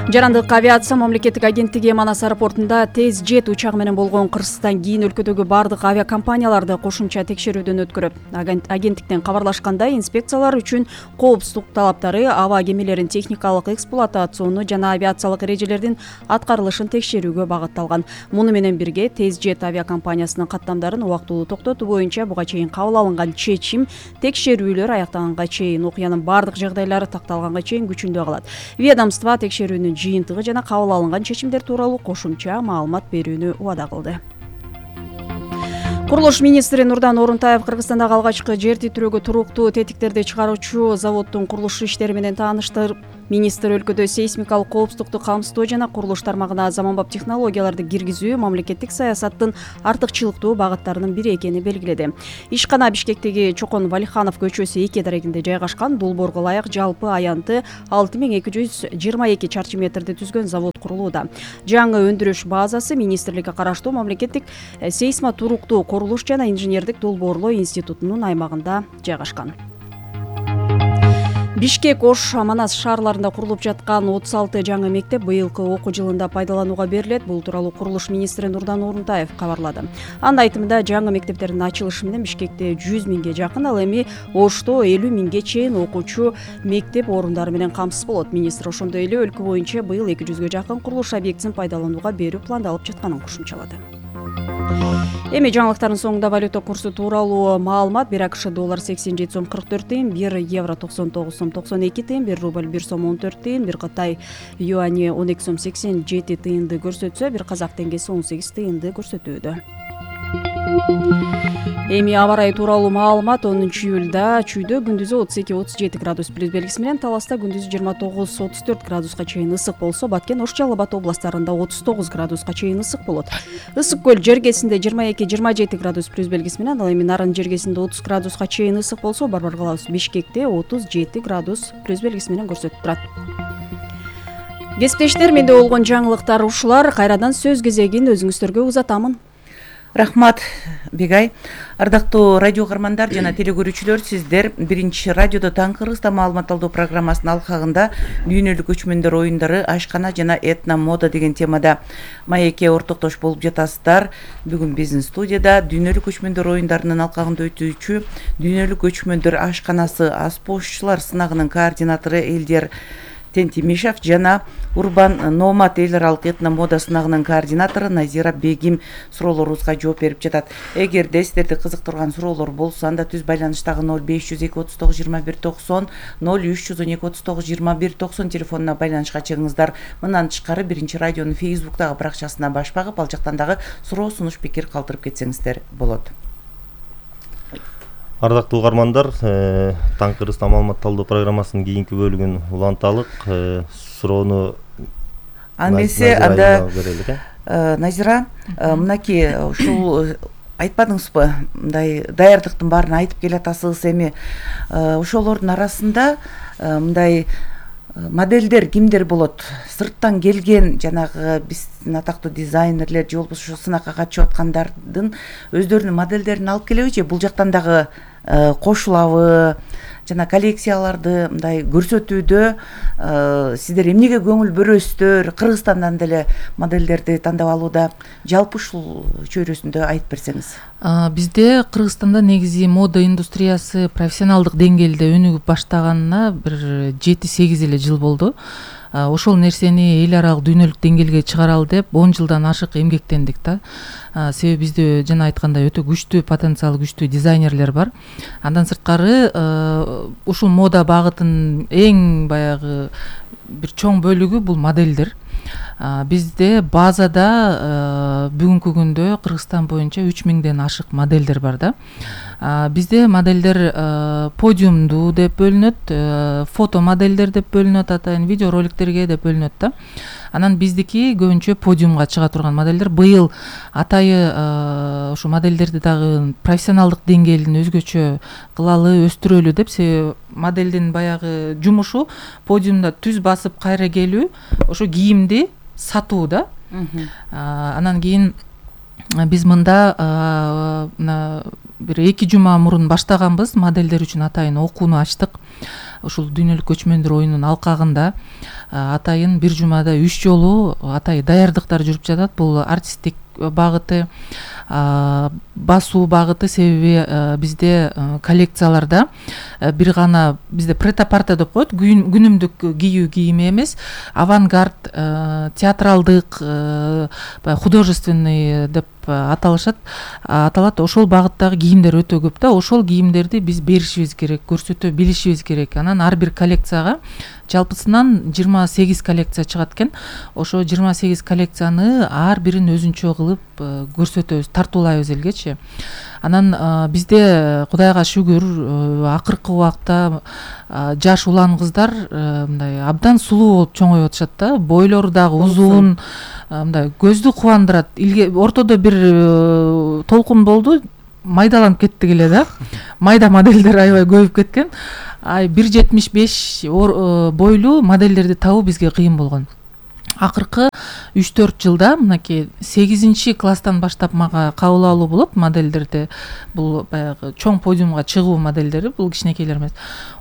Жарандык авиация мамлекеттик агенттиги Манас аэропортунда Тез Жет учагы менен болгон кырсыздан кийин өлкөдөгү бардык авиакомпанияларды кошумча текшерүүдөн өткөрөт. Агенттиктен кабарлашкандай, инспекциялар үчүн коопсуздук талаптары, аба кемелерин техникалык эксплуатацияны жана авиациялык эрежелердин аткарылышын текшерүүгө багытталган. Муну менен бирге Тез Жет авиакомпаниясынын каттамдарын убактылуу токтотуу боюнча буга чейин кабыл алынган чечим текшерүүлөр аяктаганга чейин, окуянын бардык жагдайлары такталганга чейин күчүндө калат. Ведомство текшерүүнүн жыйынтыгы жана кабыл алынган чечимдер тууралуу кошумча маалымат берүүнү убада кылды. Курулуш министри Нурдан Орунтаев Кыргызстандагы алгачкы жер титирөөгө туруктуу тетиктерди чыгаруучу заводдун курулуш иштери менен тааныштырып Министр өлкөдө сейсмикалык коопсуздукту камсыздоо жана курулуш тармагына заманбап технологияларды киргизүү мамлекеттик саясаттын артыкчылыктуу багыттарынын бири экени белгиледи. Ишкана Бишкектеги Чокон Валиханов көчөсү эки дарегинде жайгашкан. Долбоорго ылайык жалпы аянты алты миң эки жүз жыйырма эки чарчы метрди түзгөн завод курулууда. Жаңы өндүрүш базасы министрликке караштуу мамлекеттик сейсма туруктуу курулуш жана инженердик долбоорлоо институтунун аймагында жайгашкан. Бишкек, Ош, Манас шаарларында курулуп жаткан отуз алты жаңы мектеп быйылкы окуу жылында пайдаланууга берилет. Бул тууралуу курулуш министри Нурдан Орунтаев кабарлады. Анын айтымында жаңы мектептердин ачылышы менен Бишкекте жүз миңге жакын, ал эми Ошто элүү миңге чейин окуучу мектеп орундары менен камсыз болот. Министр ошондой эле өлкө боюнча быйыл эки жүзгө жакын курулуш объектисин пайдаланууга берүү пландалып жатканын кошумчалады. Эми жаңылыктардын соңунда валюта курсу тууралуу маалымат. Бир АКШ доллар сексен жети сом кырк төрт тыйын, бир евро токсон тогуз сом токсон эки тыйын, бир рубль бир сом он төрт тыйын, бир Кытай юани он эки сом сексен жети тыйынды көрсөтсө, бир казак теңгеси он сегиз тыйынды көрсөтүүдө. Эми аба ырайы тууралуу маалымат. онунчу июлда Чүйдө күндүзү отуз эки отуз жети градус плюс белгиси менен, Таласта күндүзү жыйырма тогуз отуз төрт градуска чейин ысык болсо, Баткен, Ош, Жалал Абад областарында отуз тогуз градуска чейин ысык болот. Ысык көл жергесинде жыйырма эки жыйырма жети градус плюс белгиси менен, ал эми Нарын жергесинде отуз градуска чейин ысык болсо, Барбар калабыз Бишкекте отуз жети градус плюс белгиси менен көрсөтүп турат. Кесиптештер, менде болгон жаңылыктар ушулар. Кайрадан сөз кезегин өзүңүздөргө узатамын.
Рахмат, Бегай. Ардактуу радио каармандар жана телекөрүүчүлөр, сиздер биринчи радиодо Таң Кыргызстан маалымат алуу программасынын алкагында дүйнөлүк көчмөндөр оюндары, ашкана жана этно мода деген темада маекке ортоктош болуп жатасыздар. Бүгүн биздин студияда дүйнөлүк көчмөндөр оюндарынын алкагында өтүүчү дүйнөлүк көчмөндөр ашканасы аспозчулар сынагынын координатору Элдер Тентимишев жана Урбан Номад эл аралык этно мода сынагынын координатору Назира Бегим суроолорубузга жооп берип жатат. Эгерде сиздерди кызыктырган суроолор болсо, анда түз байланыштагы ноль беш жүз эки отуз тогуз жыйырма бир токсон, ноль үч жүз он эки отуз тогуз жыйырма бир токсон телефонуна байланышка чыгыңыздар. Мындан тышкары биринчи радионун Фейсбуктагы баракчасына баш багып, ал жактан дагы суроо, сунуш, пикир калтырып кетсеңиздер болот.
Ардактуу угармандар, Таң Кыргызстан маалымат алуу программасынын кийинки бөлүгүн уланталык. Суроону
Анмесе анда Назира, мынакей ушул айтпадыңызбы, мындай даярдыктын баарын айтып келатасыз. Эми ошолордун арасында мындай модельдер кимдер болот? Сырттан келген жанагы биздин атактуу дизайнерлер же болбосо сынакка катышып аткандардын өздөрүнүн модельдерин алып келеби же бул жактан дагы кошулабы? Жана коллекцияларды мындай көрсөтүүдө сиздер эмнеге көңүл бөрөсүздөр? Кыргызстандан деле модельдерди тандап алууда жалпы ушул чөйрөсүндө айтып берсеңиз.
Бизде Кыргызстанда негизи мода индустриясы профессионалдык деңгээлде өнүгүп баштаганына бир жети сегиз эле жыл болду. Ошол нерсени эл аралык дүйнөлүк деңгээлге чыгаралы деп он жылдан ашык эмгектендик да. Себеби бизде жана айткандай өтө күчтүү потенциалы күчтүү дизайнерлер бар. Андан сырткары ушул мода багытынын эң баягы бир чоң бөлүгү бул модельдер. Бизде базада бүгүнкү күндө Кыргызстан боюнча үч миңден ашык модельдер бар да. Бизде модельдер подиумдуу деп бөлүнөт, фото модельдер деп бөлүнөт, атайын видео роликтерге деп бөлүнөт да. Анан биздики көбүнчө подиумга чыга турган модельдер. Быйыл атайы ушу модельдерди дагы профессионалдык деңгээлин өзгөчө кылалы, өстүрөлү деп, себеби модельдин баягы жумушу подиумда түз басып кайра келүү, ошо кийимди сатуу да. Анан кийин биз мында бир эки жума мурун баштаганбыз, модельдер үчүн атайын окууну ачтык. Ушул дүйнөлүк көчмөндөр оюнунун алкагында атайын бир жумада үч жолу атайын даярдыктар жүрүп жатат. Бул артисттик багыты, басуу багыты, себеби бизде коллекцияларда бир гана бизде претапарта деп коет, күнүмдүк кийүү кийими эмес, авангард, театралдык, художественный деп аталышат, аталат. Ошол багыттагы кийимдер өтө көп да. Ошол кийимдерди биз беришибиз керек, көрсөтө билишибиз керек. Анан анан ар бир коллекцияга жалпысынан жыйырма сегиз коллекция чыгат экен. Ошо жыйырма сегиз коллекцияны ар бирин өзүнчө кылып көрсөтөбүз, тартуулайбыз элгечи. Анан бизде Кудайга шүгүр акыркы убакта жаш улан кыздар мындай абдан сулуу болуп чоңоюп атышат да. Бойлору дагы узун, мындай көздү кубандырат. Ортодо бир толкун болду, майдаланып кеттик эле да. Майда модельдер аябай көбөйүп кеткен. Ай бир жетимиш беш бойлуу модельдерди табуу бизге кыйын болгон. Акыркы үч төрт жылда мынакей сегизинчи класстан баштап мага кабыл алуу болот модельдерди. Бул баягы чоң подиумга чыгуу модельдери, бул кичинекейлер эмес.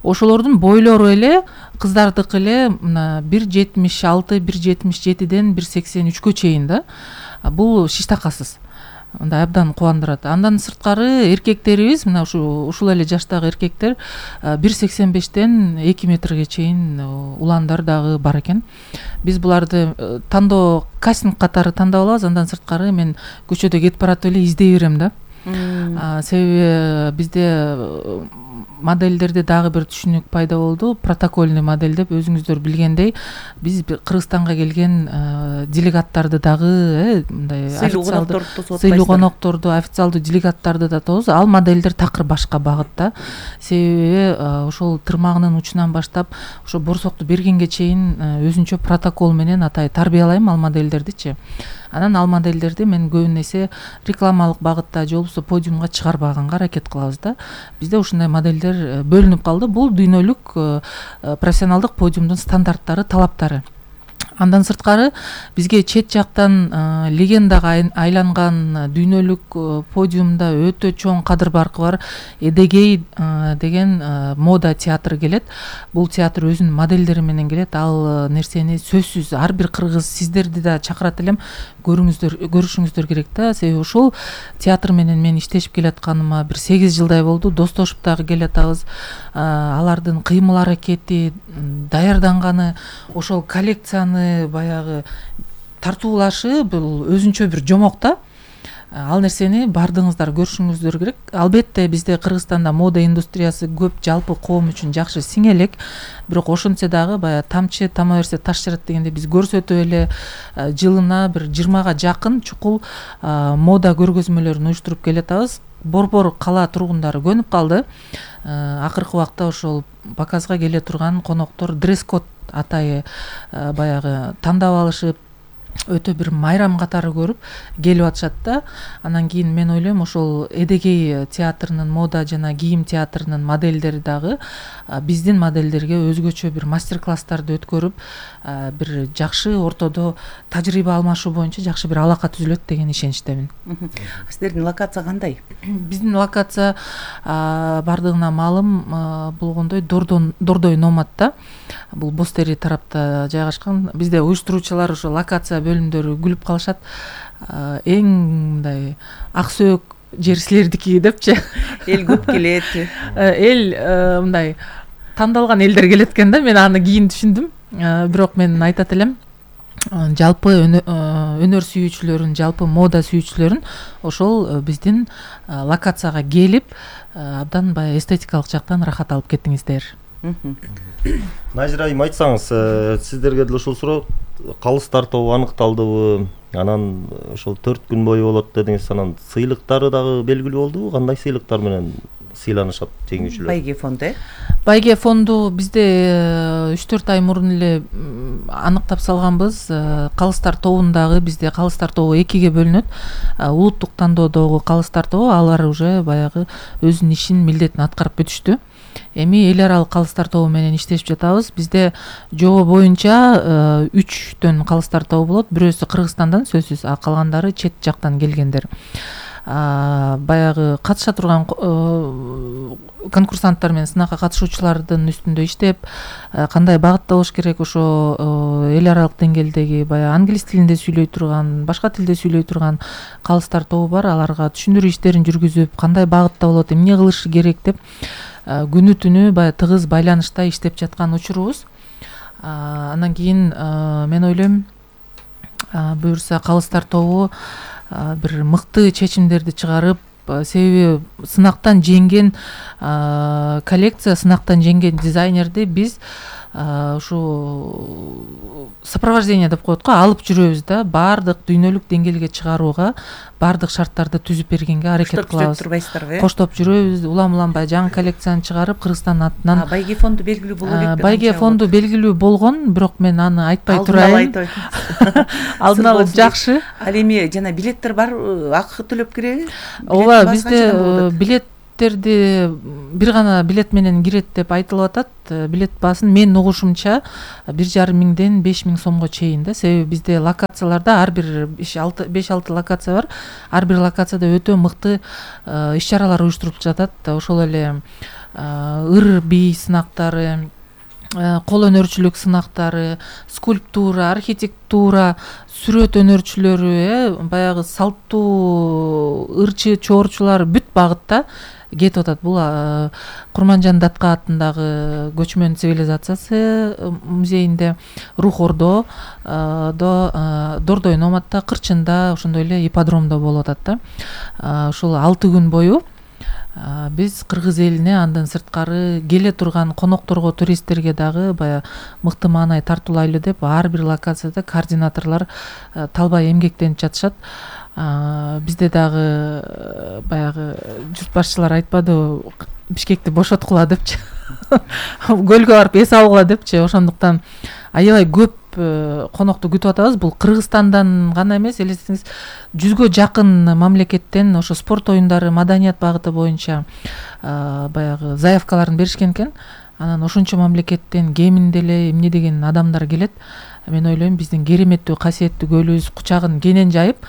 Ошолордун бойлору эле кыздардыкы эле мына бир жетимиш алты, бир жетимиш жетиден бир сексен үчкө чейин да. Бул шиштакасыз. Мындай абдан кубандырат. Андан сырткары эркектерибиз мына ушу ушул эле жаштагы эркектер бир сексен бештен эки метрге чейин уландар дагы бар экен. Биз буларды тандоо кастинг катары тандап алабыз. Андан сырткары мен көчөдө кетип баратып эле издей берем да. Себеби бизде модельдерде дагы бир түшүнүк пайда болду. Протокольный модель деп, өзүңүздөр билгендей, биз Кыргызстанга келген делегаттарды дагы мындай сыйлуу конокторду, официалдуу делегаттарды да тобуз. Ал модельдер такыр башка багытта. Себеби ошол тырмагынын учунан баштап ошо борсокту бергенге чейин өзүнчө протокол менен атай тарбиялайм ал модельдердичи. Анан ал модельдерди мен көбүн эсе рекламалык багытта же болбосо подиумга чыгарбаганга аракет кылабыз да. Бизде ушундай модельдер бөлүнүп калды. Бул дүйнөлүк профессионалдык подиумдун стандарттары, талаптары. Андан сырткары бизге чет жактан легендага айланган дүйнөлүк подиумда өтө чоң кадыр баркы бар Эдегей деген мода театры келет. Бул театр өзүнүн модельдери менен келет. Ал нерсени сөзсүз ар бир кыргыз, сиздерди да чакырат элем, көрүңүздөр, көрүшүңүздөр керек да. Себеби ушул театр менен мен иштешип келатканыма бир сегиз жылдай болду. Достошуп дагы келатабыз. Алардын кыймыл аракети, даярданганы, ошол коллекцияны баягы тартуулашы бул өзүнчө бир жомок да. Ал нерсени бардыгыңыздар көрүшүңүздөр керек. Албетте бизде Кыргызстанда мода индустриясы көп, жалпы коом үчүн жакшы сиңелек. Бирок ошентсе дагы баягы тамчы тама берсе таш жарат дегенде биз көрсөтүп эле жылына бир жыйырмага жакын чукул мода көргөзмөлөрүн уюштуруп келатабыз. Борбор кала тургундары көнүп калды. Акыркы убакта ошол показга келе турган коноктор дресс-код атайы баягы тандап алышып, өтө бир майрам катары көрүп келип атышат да. Анан кийин мен ойлойм ошол Эдегей театрынын, мода жана кийим театрынын модельдери дагы биздин модельдерге өзгөчө бир мастер-класстарды өткөрүп, бир жакшы ортодо тажрыйба алмашуу боюнча жакшы бир алака түзүлөт деген ишеничтемин.
Сиздердин локация кандай?
Биздин локация бардыгына маалым болгондой Дордой Номадта. Бул Бостери тарапта жайгашкан. Бизде уюштуруучулар ошо локация бөлүмдөрү күлүп калышат. Эң мындай ак сөөк жер силердики депчи.
Эл көп келет.
Эл мындай тандалган элдер келет экен да. Мен аны кийин түшүндүм. Бирок мен айтат элем, жалпы өнөр сүйүүчүлөрүн, жалпы мода сүйүүчүлөрүн ошол биздин локацияга келип, абдан баягы эстетикалык жактан рахат алып кеттиңиздер.
Назира айым, айтсаңыз, сиздерге деле ушул суроо, калыс тартуу аныкталдыбы? Анан ошол төрт күн бою болот дедиңиз. Анан сыйлыктары дагы белгилүү болдубу? Кандай сыйлыктар менен сыйланышат жеңүүчүлөр?
Байге фонду.
Байге фонду бизде үч төрт ай мурун эле аныктап салганбыз. Калыстар тобундагы бизде калыстар тобу экиге бөлүнөт. Улуттук тандоодогу калыстар тобу, алар уже баягы өзүнүн ишин, милдетин аткарып бүтүштү. Эми эл аралык калыстар тобу менен иштешип жатабыз. Бизде жобо боюнча үчтөн калыстар тобу болот. Бирөөсү Кыргызстандан сөзсүз, а калгандары чет жактан келгендер. Баягы катыша турган конкурсанттар менен сынакка катышуучулардын үстүндө иштеп, кандай багытта болуш керек, ошо эл аралык деңгээлдеги баягы англис тилинде сүйлөй турган, башка тилде сүйлөй турган калыстар тобу бар. Аларга түшүндүрүү иштерин жүргүзүп, кандай багытта болот, эмне кылышы керек деп күнү түнү баягы тыгыз байланышта иштеп жаткан учурубуз. Андан кийин мен ойлойм, буюрса калыстар тобу бир мыкты чечимдерди чыгарып, себеби сынактан жеңген коллекция, сынактан жеңген дизайнерди биз ушу сопровождение деп коет го, алып жүрөбүз да, баардык дүйнөлүк деңгээлге чыгарууга баардык шарттарды түзүп бергенге аракет кылабыз.
Турбайсыздарбы?
Коштоп жүрөбүз, улам уламбай жаңы коллекцияны чыгарып Кыргызстандын атынан.
Байге фонду белгилүү боло элек.
Байге фонду белгилүү болгон, бирок мен аны айтпай турайын. Алдын ала жакшы.
Ал эми жана билеттер бар, акы төлөп киреби?
Ооба, бизде билет билеттерди бир гана билет менен кирет деп айтылып атат. Билет баасын менин угушумча бир жарым миңден беш миң сомго чейин да. Себеби бизде локацияларда ар бир беш алты локация бар. Ар бир локацияда өтө мыкты иш-чаралар уюштуруп жатат. Ошол эле ыр бий сынактары, кол өнөрчүлүк сынактары, скульптура, архитектура, сүрөт өнөрчүлөрү, баягы салттуу ырчы чоорчулар бүт багытта кетип атат. Бул Курманжан Датка атындагы көчмөн цивилизациясы музейинде, Рух Ордо, Дордой Номатта, Кырчында, ошондой эле ипподромдо болуп атат да. Ушул алты күн бою биз кыргыз элине, андан сырткары келе турган конокторго, туристтерге дагы баягы мыкты маанай тартуулайлы деп ар бир локацияда координаторлор талбай эмгектенип жатышат. Бизде дагы баягы журт башчылар айтпадыбы, Бишкекти бошоткула депчи, көлгө барып эс алгыла депчи. Ошондуктан аябай көп конокту күтүп атабыз. Бул Кыргызстандан гана эмес, элестеңиз, жүзгө жакын мамлекеттен ошо спорт оюндары, маданият багыты боюнча баягы заявкаларын беришкен экен. Анан ошончо мамлекеттен кеминде эле эмне деген адамдар келет. Мен ойлойм, биздин кереметтүү, касиеттүү көлүбүз кучагын кенен жайып,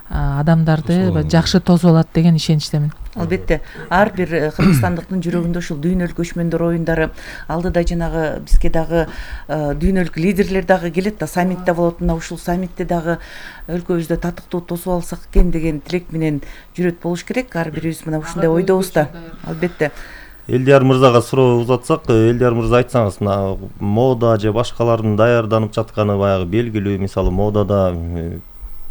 адамдарды жакшы тосуп алат деген ишеничтемин.
Албетте, ар бир кыргызстандыктын жүрөгүндө ушул дүйнөлүк көчмөндөр оюндары, алдыда жанагы бизге дагы дүйнөлүк лидерлер дагы келет да, саммитте болот. Мына ушул саммитте дагы өлкөбүздө татыктуу тосуп алсак экен деген тилек менен жүрөт болуш керек. Ар бирибиз мына ушундай ойдобуз да. Албетте.
Элдияр мырзага суроо узатсак, Элдияр мырза, айтсаңыз, мына мода же башкалардын даярданып жатканы баягы белгилүү, мисалы модада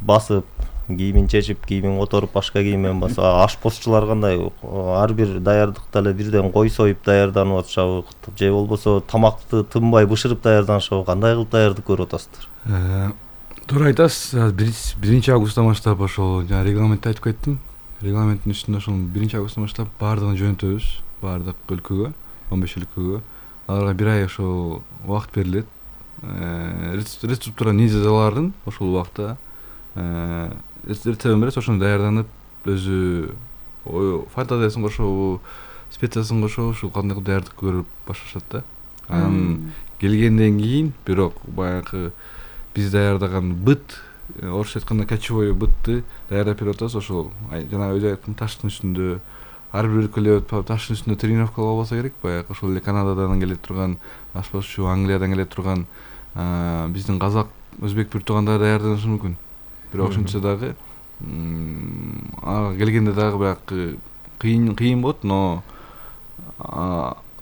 басып кийимин чечип, кийимин которуп, башка кийим менен басып, ашпозчулар кандай, ар бир даярдыкта эле бирден кой союп даярданып атышабы, же болбосо тамакты тынбай бышырып даярданышабы, кандай кылып даярдык көрүп атасыздар?
Туура айтасыз. биринчи августтан баштап ошол жана регламентти айтып кеттим. Регламенттин үстүндө ошол биринчи августтан баштап баардыгын жөнөтөбүз, баардык өлкөгө, он беш өлкөгө. Аларга бир ай ошол убакыт берилет. Рецептура низаларын ошол убакта рецептин берет, ошону даярданып, өзү фантазиясын кошобу, специясын кошобу, ушул кандай кылып даярдык көрүп башташат да. Анан келгенден кийин, бирок баягы биз даярдаган быт, орусча айтканда кочевой бытты даярдап берип атабыз. Ошол жана өзү айткан таштын үстүндө, ар бир өлкөлө таштын үстүндө тренировкалар болбосо керек. Баягы ошол эле Канададан келе турган ашпозчу, Англиядан келе турган биздин казак, өзбек бир туугандар даярданышы мүмкүн. Бирок ошентсе дагы ага келгенде дагы баягы кыйын кыйын болот, но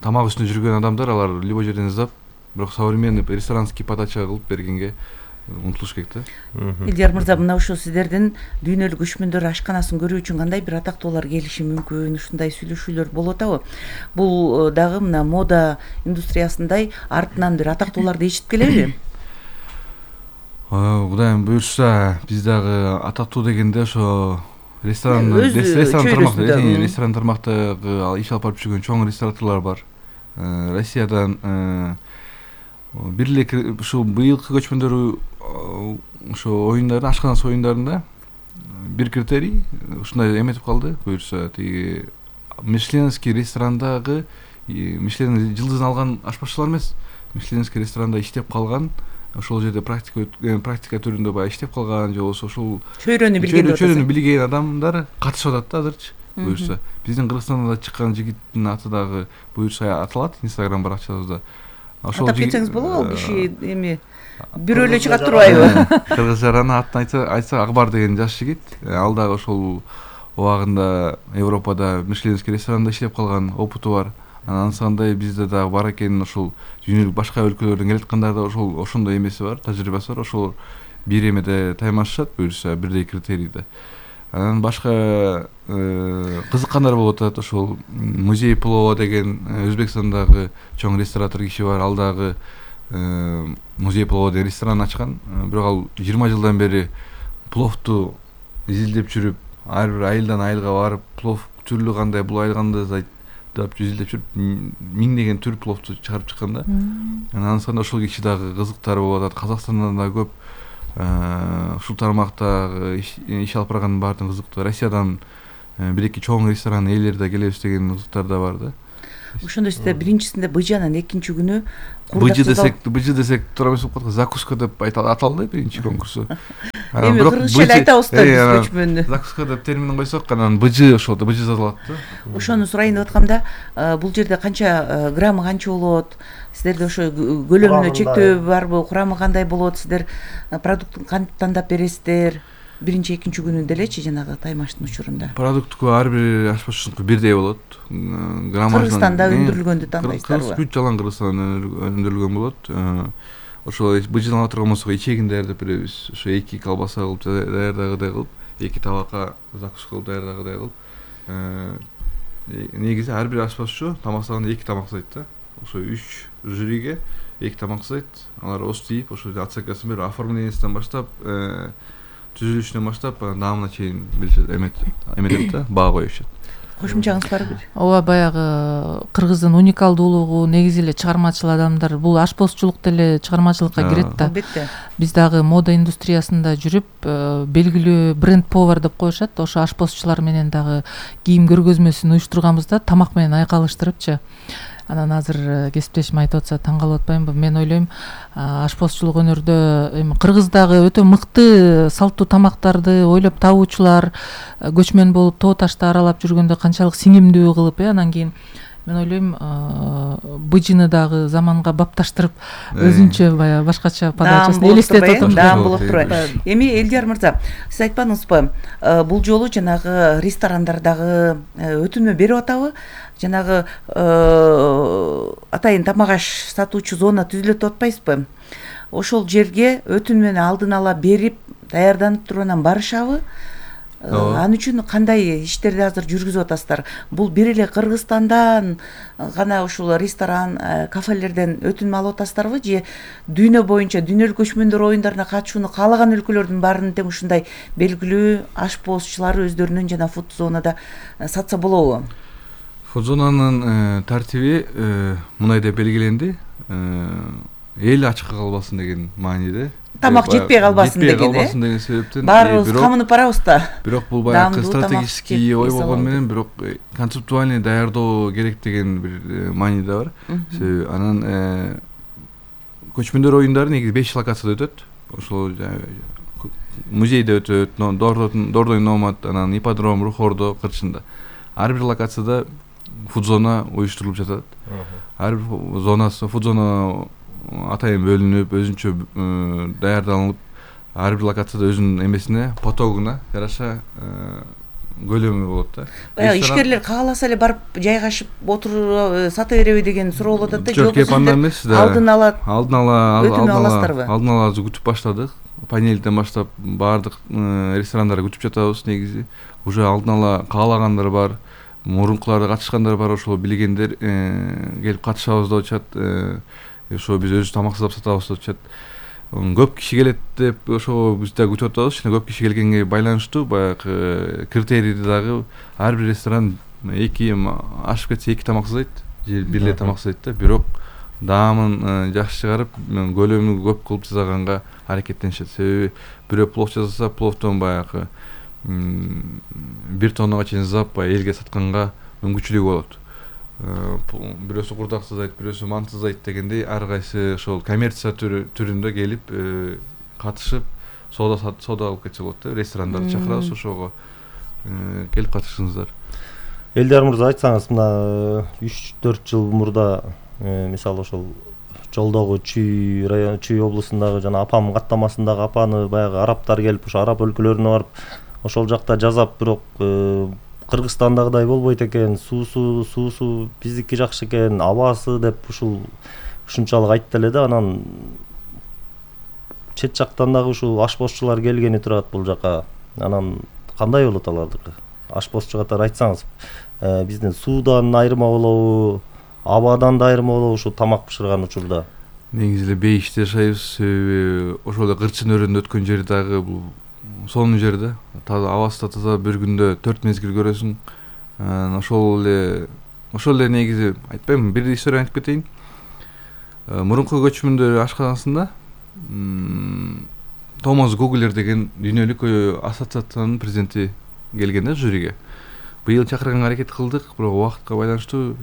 тамак үстүндө жүргөн адамдар алар любой жерден издап, бирок современный ресторанский подача кылып бергенге умтулуш керек да.
Элдияр мырза, мына ушул сиздердин дүйнөлүк көчмөндөр ашканасын көрүү үчүн кандай бир атактуулар келиши мүмкүн, ушундай сүйлөшүүлөр болуп атабы? Бул дагы мына мода индустриясындай артынан бир атактууларды ичип келеби?
Кудайым буйрса, биз дагы атактуу дегенде ошо ресторан ресторан тармакта, ресторан тармактагы иш алып барып жүргөн чоң рестораторлор бар. Россиядан бир эле ушул быйылкы көчмөндөр ошо оюндарды, ашканасы оюндарында бир критерий ушундай эметип калды. Буюрса, тиги Мишленский ресторандагы Мишлен жылдызын алган ашпазчылар эмес, Мишленский ресторанда иштеп калган, ошол жерде практика практика түрүндө баягы иштеп калган, же болбосо ошол
чөйрөнү билген
чөйрөнү билген адамдар катышып атат да азырчы. Буюрса, биздин Кыргызстанда чыккан жигиттин аты дагы буюрса аталат Инстаграм баракчабызда. Ошол
атап кетсеңиз болобу, ал киши эми бирөө эле чыгат турбайбы?
Кыргызчараны атын айтса, айтса Акбар деген жаш жигит, ал дагы ошол убагында Европада Мишленский ресторанда иштеп калган опыту бар. Ансандай бизде дагы бар экен, ошол дүйнөлүк башка өлкөлөрдөн келаткандар да ошол ошондой эмеси бар, тажрыйбасы бар. Ошол бир эмеде таймашышат, буюрса бирдей критерийде. Анан башка кызыккандар болуп атат. Ошол музей плова деген Өзбекстандагы чоң ресторатор киши бар. Ал дагы музей плова деген ресторан ачкан. Бирок ал жыйырма жылдан бери пловду изилдеп жүрүп, ар бир айылдан айылга барып, плов түрлүү кандай, бул айыл кандай деп изилдеп жүрүп, миңдеген түр пловду чыгарып чыккан да. Анан анда ошол киши дагы кызыктар болуп атат. Казакстандан да көп ушул тармакта иш алып барган баардык кызыктуу. Россиядан бир эки чоң ресторан ээлери да келебиз деген кызыктар да бар да.
Ошондо сизде биринчисинде быжы, анан экинчи күнү
быжы десек, быжы десек туура эмес болуп калат. Закуска деп аталды биринчи конкурсу.
Эми кыргызча эле айтабыз да биз көчмөнү.
Закуска деп терминин койсок, анан быжы ошол да быжы сатылат да.
Ошону сурайын деп аткам да, бул жерде канча граммы канча болот? Сиздерде ошо көлөмүнө чектөө барбы? Курамы кандай болот? Сиздер продуктун кантип тандап бересиздер? Биринчи, экинчи күнүндө элечи жанагы таймаштын учурунда.
Продуктку ар бир ашпазчыныкы бирдей болот.
Кыргызстанда өндүрүлгөндү тандайсыздарбы?
Бүт жалаң Кыргызстандан өндүрүлгөн болот. Ошол быжын ала турган болсок, ичегин даярдап беребиз. Ошо эки колбаса кылып даярдагыдай кылып, эки табакка закуска кылып даярдагыдай кылып. Негизи ар бир ашпазчы тамактаганда эки тамак жасайт да. Ошо үч жюриге эки тамак жасайт. Алар остип, ошо оценкасын берип, оформлениесинен баштап, түзүлүшүнөн баштап даамына чейин эметет да, баа коюшат.
Кошумчаңыз барбы?
Ооба, баягы кыргыздын уникалдуулугу, негизи эле чыгармачыл адамдар, бул ашпозчулук деле чыгармачылыкка кирет да.
Албетте.
Биз дагы мода индустриясында жүрүп, белгилүү бренд повар деп коюшат. Ошо ашпозчулар менен дагы кийим көргөзмөсүн уюштурганбыз да, тамак менен айкалыштырыпчы. Анан азыр кесиптешим айтып атса таң калып атпаймынбы? Мен ойлойм, ашпозчулук өнөрдө эми Кыргыздагы өтө мыкты салттуу тамактарды ойлоп табуучулар, көчмөн болуп тоо ташты аралап жүргөндө канчалык сиңимдүү кылып, э анан кийин мен ойлойм, быжыны дагы заманга бапташтырып, өзүнчө баягы башкача подачасын элестетип атам.
Даам болуп турат. Эми Элдияр мырза, сиз айтпадыңызбы, бул жолу жанагы ресторандардагы өтүнмө берип атабы? Жанагы атайын тамак аш сатуучу зона түзүлөт деп атпайсызбы? Ошол жерге өтүнмөнү алдын ала берип, даярданып туруп анан барышабы? Ал үчүн кандай иштерди азыр жүргүзүп атасыздар? Бул бир эле Кыргызстандан гана ушул ресторан, кафелерден өтүнмө алып атасыздарбы, же дүйнө боюнча дүйнөлүк көчмөндөр оюндарына катышууну каалаган өлкөлөрдүн баарынын тең ушундай белгилүү ашпозчулары өздөрүнүн жана фуд зонада сатса болобу?
Фуд зонанын тартиби мындай деп белгиленди. Эл ачка калбасын деген мааниде.
Тамак жетпей калбасын деген,
жетпей калбасын деген себептен.
Баарыбыз камынып барабыз да.
Бирок бул баягы стратегический ой болгону менен, бирок концептуальный даярдоо керек деген бир мааниде бар. Себеби анан көчмөндөр оюндары негизи беш локацияда өтөт. Ошол музейде өтөт, Дордой Номад, анан ипподром Рухордо кырчында. Ар бир локацияда фуд зона уюштурулуп жатат. Ар бир зонасы, фуд зона атайын бөлүнүп, өзүнчө даярдалып, ар бир локацияда өзүнүн эмесине, потогуна жараша көлөмү болот да.
Баягы ишкерлер кааласа эле барып жайгашып отуруп сата береби деген суроо болот да.
Жок, кеп анда эмес да.
Алдын ала
алдын ала
өтүнмө аласыздарбы?
Алдын ала күтүп баштадык. Панелден баштап баардык ресторандарга күтүп жатабыз негизи. Уже алдын ала каалагандар бар. Мурункуларда катышкандар бар, ошол билгендер келип катышабыз деп атышат. Ошо биз өзүбүз тамак жасап сатабыз деп атышат. Көп киши келет деп ошо биз да күтүп атабыз. Жана көп киши келгенге байланыштуу баягы критерийди дагы ар бир ресторан эки ашып кетсе эки тамак жасайт, же бир эле тамак жасайт да. Бирок даамын жакшы чыгарып, көлөмү көп кылып жасаганга аракеттенишет. Себеби бирөө плов жасаса, пловдон баягы бир тоннага чейин жасап элге сатканга мүмкүнчүлүгү болот. Бирөөсү курдак жасайт, бирөөсү манты жасайт дегендей, ар кайсы ошол коммерция түрүндө келип катышып, соода соода кылып кетсе болот да. Ресторандарды чакырабыз, ошого келип катышыңыздар.
Элдияр мырза, айтсаңыз, мына үч төрт жыл мурда мисалы ошол жолдогу Чүй район, Чүй облусундагы жана Апам каттамасындагы апаны баягы арабтар келип, ошо араб өлкөлөрүнө барып, ошол жакта жасап, бирок Кыргызстандагыдай болбойт экен, суусу, суусу биздики жакшы экен, абасы деп ушул ушунчалык айтты эле да. Анан чет жактан дагы ушул ашпозчулар келгени турат бул жака. Анан кандай болот алардыкы? Ашпозчу катары айтсаңыз, биздин суудан айырма болобу, абадан да айырма болобу ушу тамак бышырган учурда?
Негизи эле бейиште жашайбыз, себеби ошол эле кырчын өрөөнү өткөн жер дагы бул сонун жер да. Таза абасы да таза, бир күндө төрт мезгил көрөсүң. Ошол эле ошол эле негизи айтпаймынбы, бир история айтып кетейин. Мурунку көчмөндөр ашканасында Томас Гоглер деген дүйнөлүк ассоциациянын президенти келген да жюриге. Быйыл чакырганга аракет кылдык, бирок убакытка байланыштуу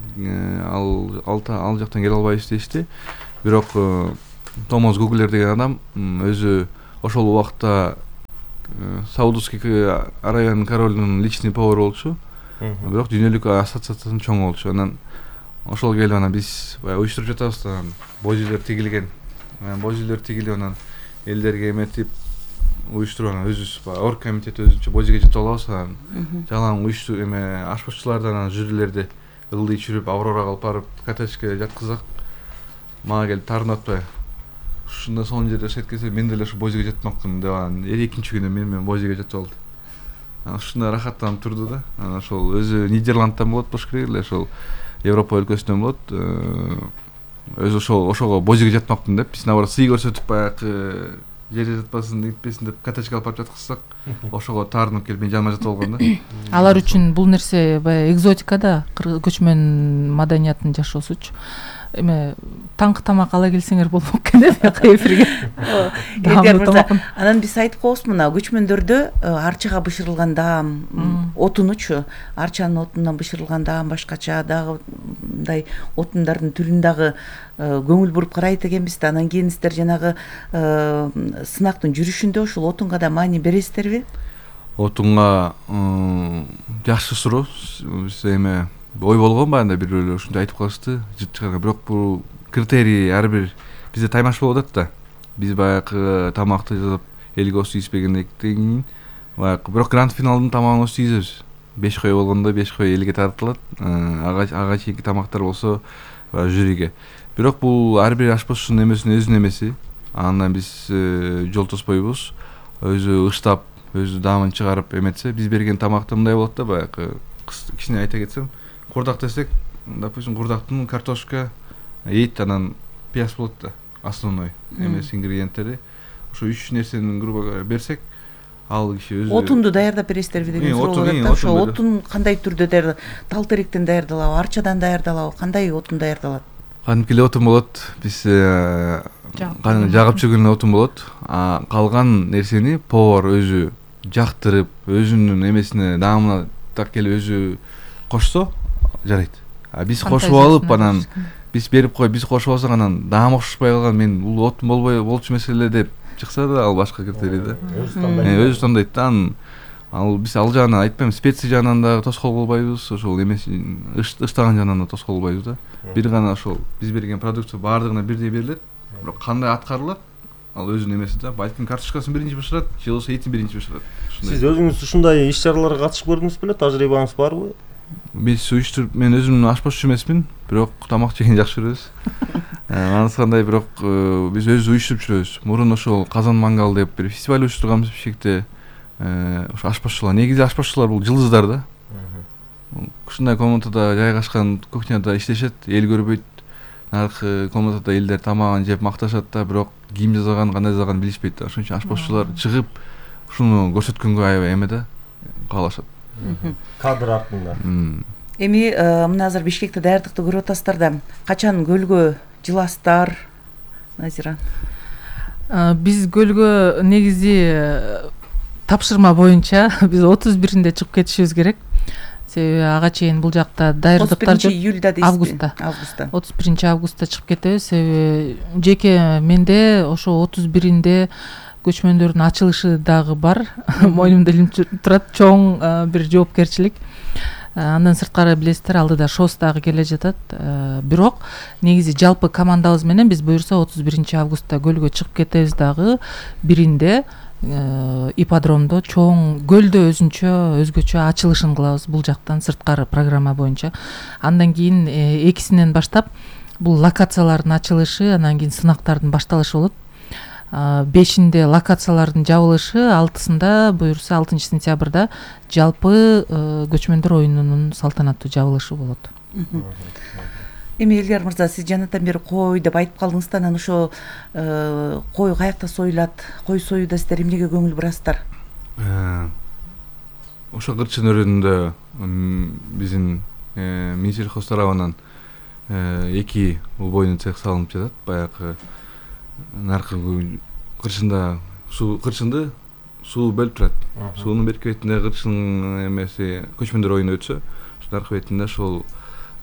ал ал жактан келе албайбыз дешти. Бирок Томас Гоглер деген адам өзү ошол убакытта Саудовский Аравиянын королунун личный повару болчу. Бирок дүйнөлүк ассоциациянын чоңу болчу. Анан ошол келип анан биз баягы уюштуруп жатабыз да, божүлөр тигилген. Божүлөр тигилип анан элдерге эметип уюштуруп анан өзүбүз баягы оргкомитет өзүнчө божиге жетип алабыз. Анан жалаң уюштуруп эме ашпозчулардан анан жюрилерди ылдый чүрүп Аврорага алып барып коттеджге жаткызсак, мага келип таарынып атпайбы? Ушунда сонун жерде жашайт келсе, мен деле ушу божиге жатмакмын деп анан экинчи күнү мен менен божиге жатып алды. Ушундай рахаттанып турду да. Анан ошол өзү Нидерландтан болот болуш керек эле, ошол Европа өлкөсүнөн болот. Өзү ошол ошого божиге жатмакмын деп, биз наоборот сый көрсөтүп баягы жерде жатпасын, нетпесин деп коттеджге алып барып жаткызсак, ошого таарынып келип мен жаныма жатып алган да.
Алар үчүн бул нерсе баягы экзотика да, көчмөн маданиятынын жашоосучу. Эме таңкы тамак ала келсеңер болмок экен деп эфирге.
Эдгар мырза, анан биз айтып коебуз, мына көчмөндөрдө арчага бышырылган даам, отунучу, арчанын отунан бышырылган даам башкача, дагы мындай отундардын түрүн дагы көңүл буруп карайт экенбиз да. Анан кийин сиздер жанагы сынактын жүрүшүндө ушул отунга да маани бересиздерби?
Отунга жакшы суроо. Биз эме ой болгон баягы бир бөлө ушундай айтып калышты. Бирок бул критерий ар бир бизде таймаш болуп атат да. Биз баягы тамакты жазып элге ос ийиспегенден кийин баягы бирок гранд финалдын тамагын ос ийизебиз. беш кой болгондо беш кой элге тартылат. Ага ага чейинки тамактар болсо жюриге. Бирок бул ар бир ашпозчунун эмесинин өзүнүн эмеси. Андан биз жол тоспойбуз. Өзү ыштап, өзү даамын чыгарып эметсе, биз берген тамакта мындай болот да, баягы кичине айта кетсем, курдак десек, допустим, курдактын картошка, эт, анан пияз болот да, основной эмес ингредиенттери. Ошо үч нерсени грубо говоря берсек, ал киши өзү
отунду даярдап бересиздерби деген суроо болот да. Ошо отун кандай түрдө даярдалат? Тал теректен даярдалабы, арчадан даярдалабы, кандай отун даярдалат?
Кадимки эле отун болот. Биз жагып жүргөн отун болот. А калган нерсени повар өзү жактырып, өзүнүн эмесине, даамына так келип өзү кошсо жарайт. А биз кошуп алып анан биз берип коюп, биз кошуп алсак анан даам окшошпой калган, мен бул отун болбой болчу маселе деп чыкса да, ал башка критерий да. Өзү тандайт да. Ал биз ал жагынан айтпайм, специя жагынан да тоскоол болбойбуз, ошол эмес ыштаган жагынан да тоскоол болбойбуз да. Бир гана ошол биз берген продукция баардыгына бирдей берилет. Бирок кандай аткарылат, ал өзүнүн эмеси да. Балким картошкасын биринчи бышырат, же болбосо этин биринчи бышырат.
Сиз өзүңүз ушундай иш чараларга катышып көрдүңүз беле? Тажрыйбаңыз барбы?
Биз уюштуруп, мен өзүм ашпозчу эмесмин, бирок тамак жегенди жакшы көрөбүз. Анысы кандай, бирок биз өзүбүз уюштуруп жүрөбүз. Мурун ошол Казан мангал деп бир фестиваль уюштурганбыз Бишкекте. Ошо ашпозчулар, негизи ашпозчулар бул жылдыздар да. Ушундай комнатада жайгашкан кухняда иштешет, эл көрбөйт. Наркы комнатада элдер тамагын жеп макташат да, бирок ким жасаган, кандай жасаганын билишпейт да. Ошон үчүн ашпозчулар чыгып ушуну көрсөткөнгө аябай эме да, каалашат.
Кадр артында.
Эми мына азыр Бишкекте даярдыкты көрүп атасыздар да. Качан көлгө жыласыздар, Назира?
Биз көлгө негизи тапшырма боюнча биз отуз биринде чыгып кетишибиз керек. Себеби ага чейин бул жакта даярдыктар
отуз биринчи июльда дейсизби?
Августта.
Августта.
отуз биринчи августта чыгып кетебиз. Себеби жеке менде ошо отуз биринде көчмөндөрдүн ачылышы дагы бар. Мойнумда илинип турат, чоң бир жоопкерчилик. Андан сырткары билесиздер, алдыда шос дагы келе жатат. Бирок негизи жалпы командабыз менен биз буюрса отуз биринчи августта көлгө чыгып кетебиз дагы. Биринде ипподромдо чоң көлдө өзүнчө өзгөчө ачылышын кылабыз бул жактан сырткары программа боюнча. Андан кийин экисинен баштап бул локациялардын ачылышы, андан кийин сынактардын башталышы болот. бешинде локациялардын жабылышы, алтысында буюрса алтынчы сентябрда жалпы көчмөндөр оюнунун салтанаттуу жабылышы болот.
Эми Элдияр мырза, сиз жанатан бери кой деп айтып калдыңыз да, анан ошо кой каякта союлат, кой союуда сиздер эмнеге көңүл бурасыздар?
Ошо кырчын өрөөнүндө биздин Минсельхоз тарабынан эки убойнун цех салынып жатат. Баягы наркы кырчында суу кырчынды суу бөлүп турат. Суунун берки бетинде кырчын эмеси көчмөндөр оюну өтсө, наркы бетинде ошол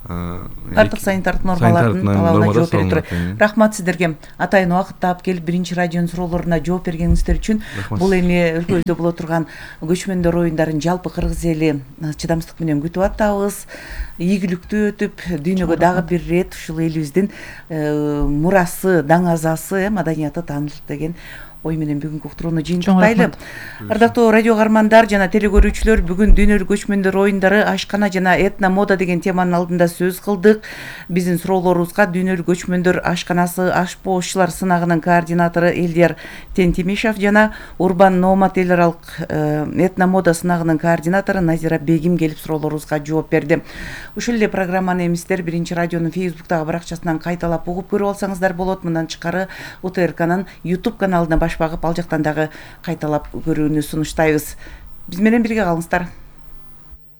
бардык санитардык нормалардын талабына жооп бере турат. Рахмат сиздерге атайын убакыт таап келип биринчи радионун суроолоруна жооп бергениңиздер үчүн. Бул эми өлкөбүздө боло турган көчмөндөр оюндарын жалпы кыргыз эли чыдамсыздык менен күтүп атабыз. Ийгиликтүү өтүп, дүйнөгө дагы бир ирет ушул элибиздин мурасы, даңазасы, маданияты таанылат деген ой менен бүгүнкү уктурууну жыйынтыктайлы. Ардактуу радио каармандар жана телекөрүүчүлөр, бүгүн дүйнөлүк көчмөндөр оюндары, ашкана жана этно мода деген теманын алдында сөз кылдык. Биздин суроолорубузга дүйнөлүк көчмөндөр ашканасы ашпоозчулар сынагынын координатору Элдияр Тентимишев жана Урбан Номад эл аралык этно мода сынагынын координатору Назира Бегим келип суроолорубузга жооп берди. Ушул эле программаны эми сиздер биринчи радионун Facebook'тагы баракчасынан кайталап угуп көрүп алсаңыздар болот. Мындан тышкары У Т Р К'нын YouTube каналына баш багып, ал жактан дагы кайталап көрүүнү сунуштайбыз. Биз менен бирге калыңыздар.